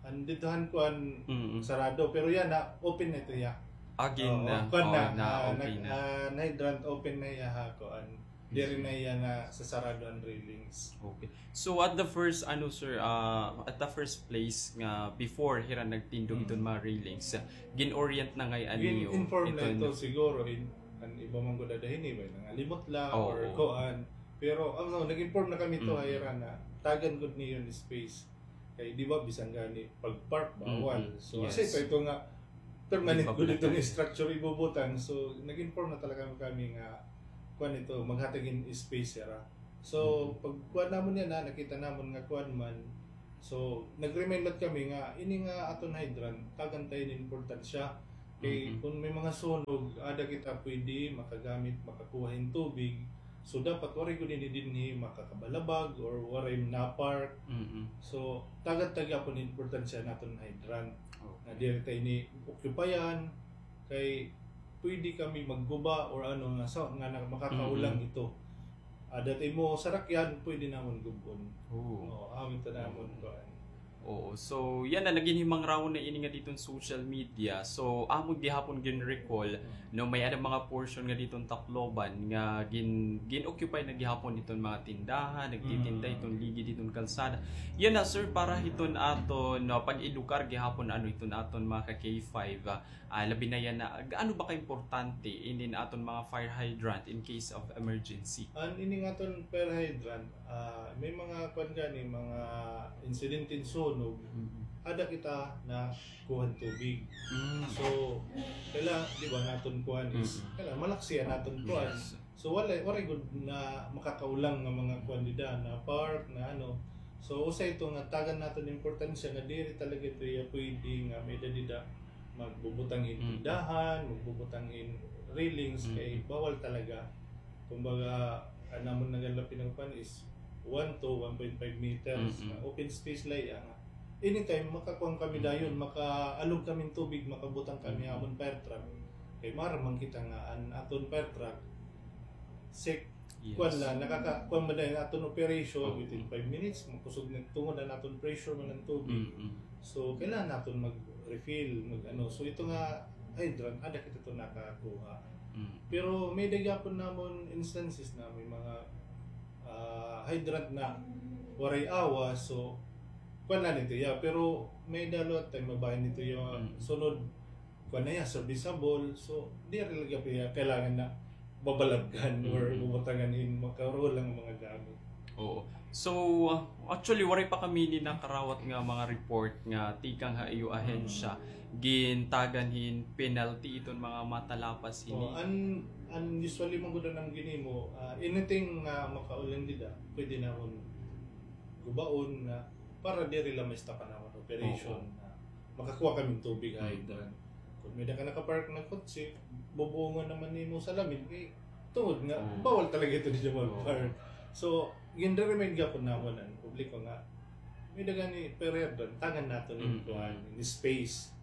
an didto han kuan Mm-mm. sarado, pero yana open na ito hiya. Again Oo, na, kuan oo, na, na, ah, okay nag-, na. Ah, na hydrant open na hiya ha kuan. Diri na hiya nasasarado an railings. Okay. So at the first, ano, sir, ah, at the first place nga before hira nagtindog Mm. iton mga railings, ah, gin-orient na ngay-an niyo Gin-inform na iton ito siguro in, an iba man gud ada hini, may nangalimot la Oo. or kuan. Pero, ano, nag-inform na kami to Mm. ha ira na tagan gud niyo an space. Kay, di ba, bisan gani pag-park, bawal. Mm-mm. So, Yes. kasi ito, ito nga, permanent Di ba gud itong pala? Structure ibubutang. So, nag-inform na talaga kami nga, kuan ito, maghatag hin space hira. So, Mm-mm. pag kuan namon yana, nakita namon nga kuan man. So, nag-remind liwat kami nga, ini nga aton hydrant, tagan ta hin importansya. Kay Mm-mm. kun may mga sunog, ada kita pwede makagamit, makakuha hin tubig. So, dapat waray gud ini dinhi makakabalabag or waray na-park. Mm-mm. So, tagan ta gihapon importansya naton hydrant. Okay. Nga diri ta ini occupyan, kay pwede kami magguba or ano nga sa, nga na-, makakaulang Mm-mm. ito. Ada it imo sarakyan, pwede namon gub-on. Oo. Oo, amo ito namon kuan. Oo. So, yana, nagin himangrawon na ini nga diton social media. So, amo gihapon gin-recall, Mm. no, may ada mga portion nga diton Tacloban nga gin-, gin-occupy na gihapon diton mga tindahan, nagtitinda Mm. iton ligi diton kalsada. Yana, sir, para hiton aton, no, pag-edukar gihapon, ano, hiton aton mga ka-K five, ah, Ah, labi na yana, gaano ba kaimportante inin aton mga fire hydrant in case of emergency? An ini nga aton fire hydrant, ah, may mga kuan gani, mga insidente hin sunog, Mm. ada kita nakuha hin tubig. Mm. So, kaila, di ba, naton kuan is, Mm. kaila, malaksi an aton kuan. Yes. So, wala, waray gud na makakaulang nga mga kuan dida, na park, na ano. So, usa ito nga tagan naton importansya nga diri talaga ito iya pwede nga may-ada dida magbubutang hin Mm. tindahan, magbubutang hin railings, Mm. kay bawal talaga. Kumbaga, an amon na gani la pinagkuan is one to one point five meters, Mm-mm. nga open space la iya nga anytime, makakuan kami Mm. dayon, makaalog kami hin tubig, makabutang kami Mm. ha amon fire truck. Kay maaram man kita nga an aton fire truck, sek-, Yes. kuan la, nakaka-, kuan man dayon aton operation, Oo. within five minutes, makusog na tungod an aton pressure man an tubig. Mm-mm. So, kailangan naton mag-refill, mag-ano. So, ito nga hydrant, ada kita ito nakakuha. Mm. Pero may-ada gihapon namon instances na may mga, ah, hydrant na waray awa, so, kuan na nito, yeah. Pero may-ada liwat time mabahin nito, yeah, Mm. sunod, kuan na iya, serviceable. So, diri la gihapon iya kailangan na babalabgan or Mm-mm. bubutangan hin makarulang mga gamit. Oo. So, uh, actually, waray pa kami ini nakarawat nga mga report nga tikang ha iyo ahensya, Mm. gintagan hin penalty iton mga matalapas hini. Oh, an, an usually man gud an ginhimo, ah, anything nga makaulang dida, pwede namon gubaon nga para diri la ma-stop an amon operation Oo. nga makakuha kami hin tubig ha Mm. hydrant. Kon may-ada ka nakapark nga kotse, bubungon naman nimo salamin, kay tungod nga, Oo. bawal talaga ito dida Oo. magpark. So, gin-remind gihapon namon an publiko nga, may-ada gani fire hydrant, tagan naton hin Mm. kuan, hin space.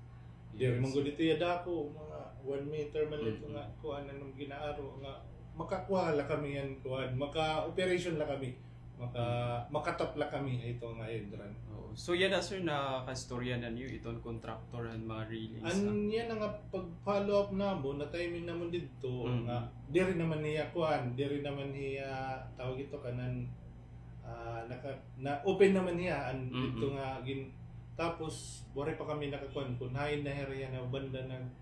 Diri Yes. man gud ito iya dako, mga one meter man ito Mm. nga, kuan, an gin-aaro nga, makakuha la kami han kuan, maka-operation la kami. Maka-, makatap la kami ha ito nga hydrant. Oo. So, yana, sir, nakaistorya na niyo iton contractor han mga railings, ah? An yana nga pag-follow up namon, na-timing namon didto, Mm. nga diri naman hiya kuan, diri naman hiya, tawag ito, kanan, ah, naka-, na-open naman hiya, an Mm. didto nga gin-, tapos, waray pa kami nakakuan, kon hain na hira yana banda nag-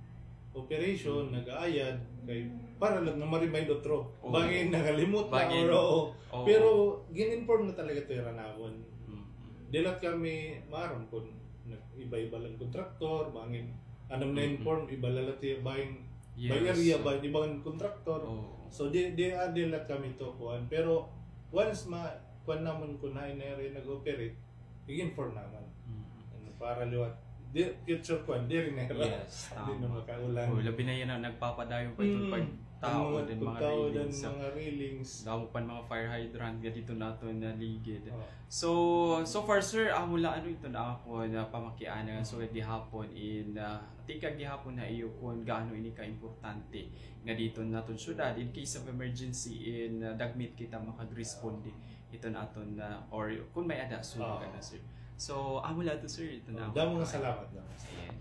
operation, Mm. nag-aayad, kay para lang nga ma-remind utro. Oo. Bangin nakalimot na, Bangin. Or, oo. Oo. Pero gin-inform na talaga ito hira namon. Mm. Diri la kami maaram kon nag-iba-iba la an kontraktor, bangin, ano, Mm-mm. na-inform, iba la la ito, bangin, Yes. by area, bangin, iba an kontraktor. Oo. So, di, di, ah, diri la kami ito kuan. Pero once ma-, kuan namon kon hain na hira nag-operate, i-inform namon. Mm. Ano, para liwat Di, future kuan, diri na hira. Yes, tama. Di na makaulan. O, labi na yana, nagpapadayon pa iton pagtaod hin mga railings. Damo pa hin mga fire hydrant nga didto ha aton nga ligid. So, so far, sir, amo la ano iton akon pamakiana, so gihapon in, ah, tikang gihapon ha iyo kon gaano ini kaimportante nga didto ha aton syudad, in case of emergency, in, ah, dagmit kita makagresponde iton aton, ah, or kon may-ada sunog, ano, sir. So, amo la ito, sir, iton akon. Damo nga salamat, damo nga salamat. Ayan.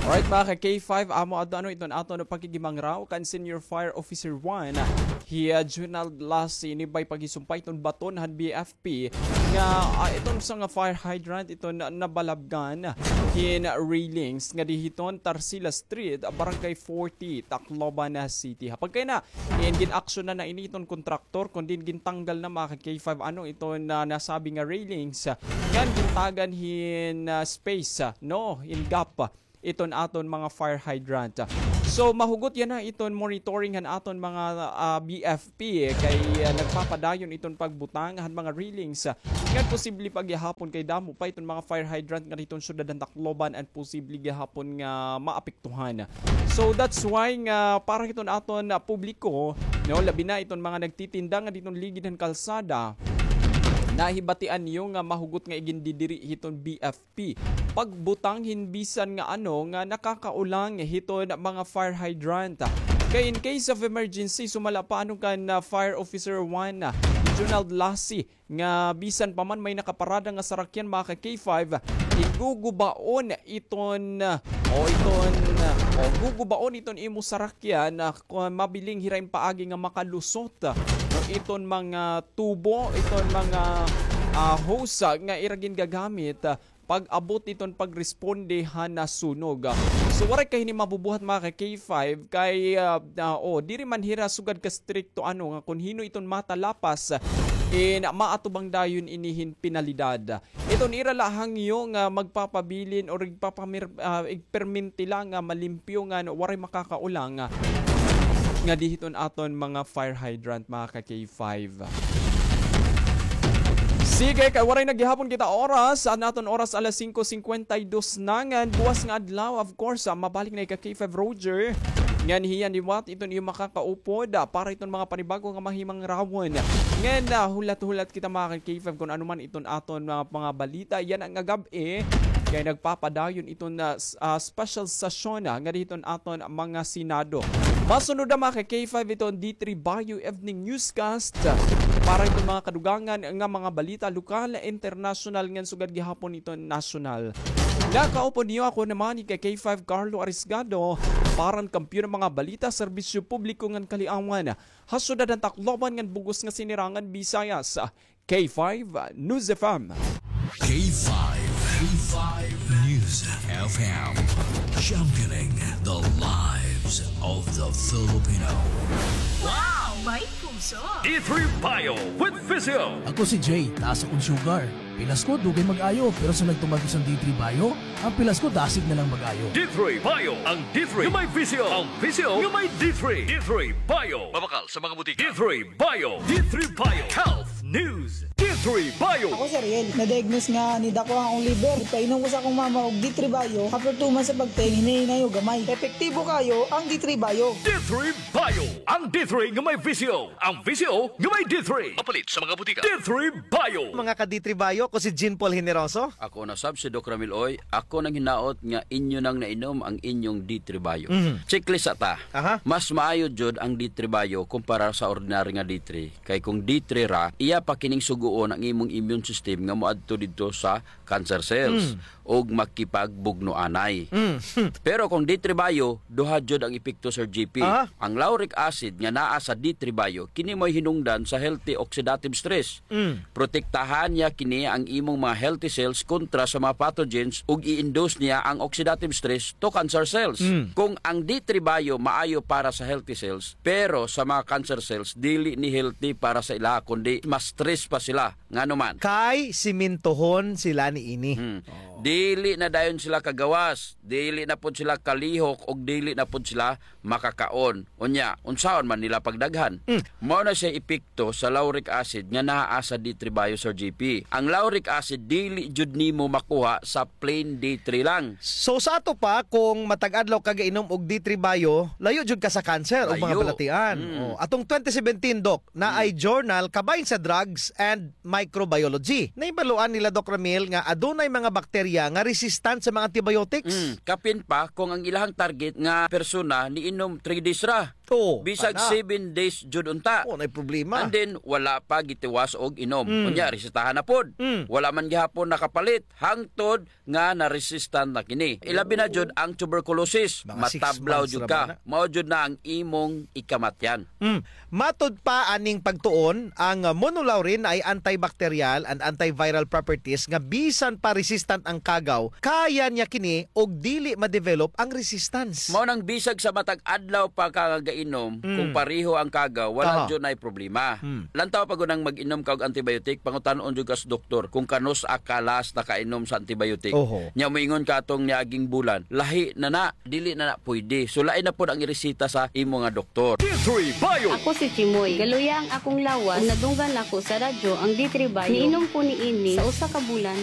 Alright, mga ka-K five, amo adto ano iton aton pakighimangraw kan Senior Fire Officer one, hi, ah, Junald Lassi, ini bay paghisumpay iton baton han B F P nga, ah, iton usa nga fire hydrant iton na-, nabalabgan hin railings ngadi hiton Tarsila Street, Barangay forty, Tacloban City. Ha pagkayana, in gin-aksyonan na ini iton kontraktor, kundi gintanggal na, mga ka-K five, ano iton nasabi nga railings, ah, ngan gintagan hin, ah, space, ah, no, hin gap, ah, iton aton mga fire hydrant. So, mahugot yana iton monitoring han aton mga, ah, B F P, eh, kay, ah, nagpapadayon iton pagbutang han mga railings, ah, ngan posible pa gihapon kay damo pa iton mga fire hydrant nga didto han syudad han Tacloban an posible gihapon nga maapektuhan. So that's why nga para hiton aton, ah, publiko, no, labi na iton mga nagtitinda nga didto han ligid han kalsada, nahibatian niyo nga mahugot nga igindidiri hiton B F P pagbutang hin bisan nga ano nga nakakaulang hiton mga fire hydrant. Kay in case of emergency, sumala pa ano kan, ah, Fire Officer one, ah, Junald Lassi, nga bisan pa man may nakaparada nga sarakyan, mga ka-K five, igugubaon iton, o iton, o gugubaon iton imo sarakyan, ah, kon mabiling hira in paagi nga makalusot, no, iton mga tubo, iton mga, ah, hose, ah, nga ira gingagamit, ah, pag-abot iton pagresponde han nasunog. So, waray kay hini mabubuhat, mga ka-K five, kay, ah, ah, o, diri man hira sugad ka-strikto, ano, nga kon hin-o iton matalapas, in maatubang dayon ini hin penalidad. Iton ira la hangyo nga magpapabilin or igpapamir-, ah, igperminti la nga malimpyo ngan waray makakaulang, ah, ngadi hiton aton mga fire hydrant, mga ka-K five. Sige, kay waray na gihapon kita oras. An aton oras alas singko singkwenta y dos na ngan buwas nga adlaw. Of course, ah, mabalik na ika K five Roger. Ngan hiya liwat iton iyo makakaupod, ah, para iton mga panibago nga mahimangrawon. Ngan, ah, hulat-hulat kita, mga ka-K five, kon ano man iton aton mga, mga balita yana nga gab-i. Kay nagpapadayon iton, ah, s-, ah, special session, ah, ngadi hiton aton mga Senado. Masunod na, mga ka-K five, iton D three Bayo Evening Newscast, ah, para iton mga kadugangan nga mga balita lokal, internasyonal, ngan sugad gihapon iton nasyonal. Nakaupod niyo ako naman, ika K five Carlo Arisgado, para han kampiyon nga mga balita, serbisyo publiko ngan kaliawan ha syudad han Tacloban ngan bug-os nga sinirangan Visayas. K five News F M. K five, K five News F M, championing the lives of the Filipino. Wow! May puso! D three Bio with Visio. Ako si Jay, taas akon sugar. Pilas ko, dugay mag-ayo, pero sa nagtuman ko sa D three Bio, an pilas ko dasig na lang mag-ayo. D three Bio, ang D three nga may Visio, ang Visio nga may D three. D three Bio. Mabakal sa mga butika. D three Bio. D three Bio. Health News. D three Bio. Ako si Ariel. Na-diagnose nga nidako an akon liver. Ipainom ko sa akon mama og D three Bio. After two months sa pagtake, hinay-hinay og gamay. Epektibo kaayo ang D three Bio. D three Bio. Ang D three nga may Visio. Ang Visio nga may D three. Mapalit sa mga butika. D three Bio. Mga ka-D three Bio, ako si Jean Paul Generoso. Ako na sab si Doc Ramil Oy. Ako nanghinaot nga inyo nang nainom ang inyong D three Bio. Mhm. Checklist ta. Aha. Mas maayo jud ang D three Bio kumpara sa ordinary nga D three. Kay kung D three ra, iya pa kining sugoon ang imong immune system nga moadto didto sa cancer cells Mm. ug makipagbugno anay. Mm. Pero kung D three Bio, duha jud ang epekto, Sir G P. Aha. Ang lauric acid nga naa sa D three Bio, kini mo'y hinungdan sa healthy oxidative stress. Mm. Protektahan niya kini ang imong mga healthy cells kontra sa mga pathogens ug i-induce niya ang oxidative stress to cancer cells. Mm. Kung ang D three Bio maayo para sa healthy cells, pero sa mga cancer cells, dili ni healthy para sa ila, kundi mas stress pa sila. Ngano man? Kay simintohon sila niini. Hmm. Oh. Dili na dayon sila kagawas, dili na pod sila kalihok, ug dili na pod sila makakaon. Unya, unsaon man nila pagdaghan? Hmm. Mao na siya epekto sa lauric acid nga naa sa D three Bio, Sir J P. Ang lauric acid, dili jud nimo makuha sa plain D three lang. So, sa ato pa, kung matag adlaw ka gainom og D three Bio, layo jud ka sa cancer o mga balatian. Mm. Oh, atong twenty seventeen, Doc, naay journal kabahin sa Drugs and Microbiology. Nahibaluan nila, Doc Ramil, nga adunay mga bakterya nga resistant sa mga antibiotics. Mm, kapin pa kung ang ilahang target nga persona niinom three days ra. Oo, bisag seven days jud unta. Oh, naay problema. And then, wala pa gitiwas og inom. Mm. Unya, resetahan na pod. Mm. Wala man gihapon nakapalit. Hangtod nga na-resistant na kini. Ilabi na jud ang tuberculosis. Matablaw jud ka. Mao jud na ang imong ikamatyan. Mm. Matud pa aning pagtuon, ang, ah, monolaurin ay antibacterial and antiviral properties nga bisan pa resistant ang kagaw, kaya niya kini og dili ma-develop ang resistance. Mao nang bisag sa matag adlaw pa ka nga gainom, kung pareho ang kagaw, wala jud nay problema. Mm. Lantaw pa gud ang mag-inom ka og antibiotic, pangutan-on jud ka sa doktor kung kanus-a ka last nakainom sa antibiotic. Oho. Nya moingon ka atong niaging bulan, lahi na na, dili na na pwede. So, lain na pod ang ireseta sa imo nga doktor. D three Bio. Ako si Chimoy. Galuya ang akong lawas. Ug nadunggan ako sa radyo ang D three Bio. Niinom ko niini sa usa ka bulan.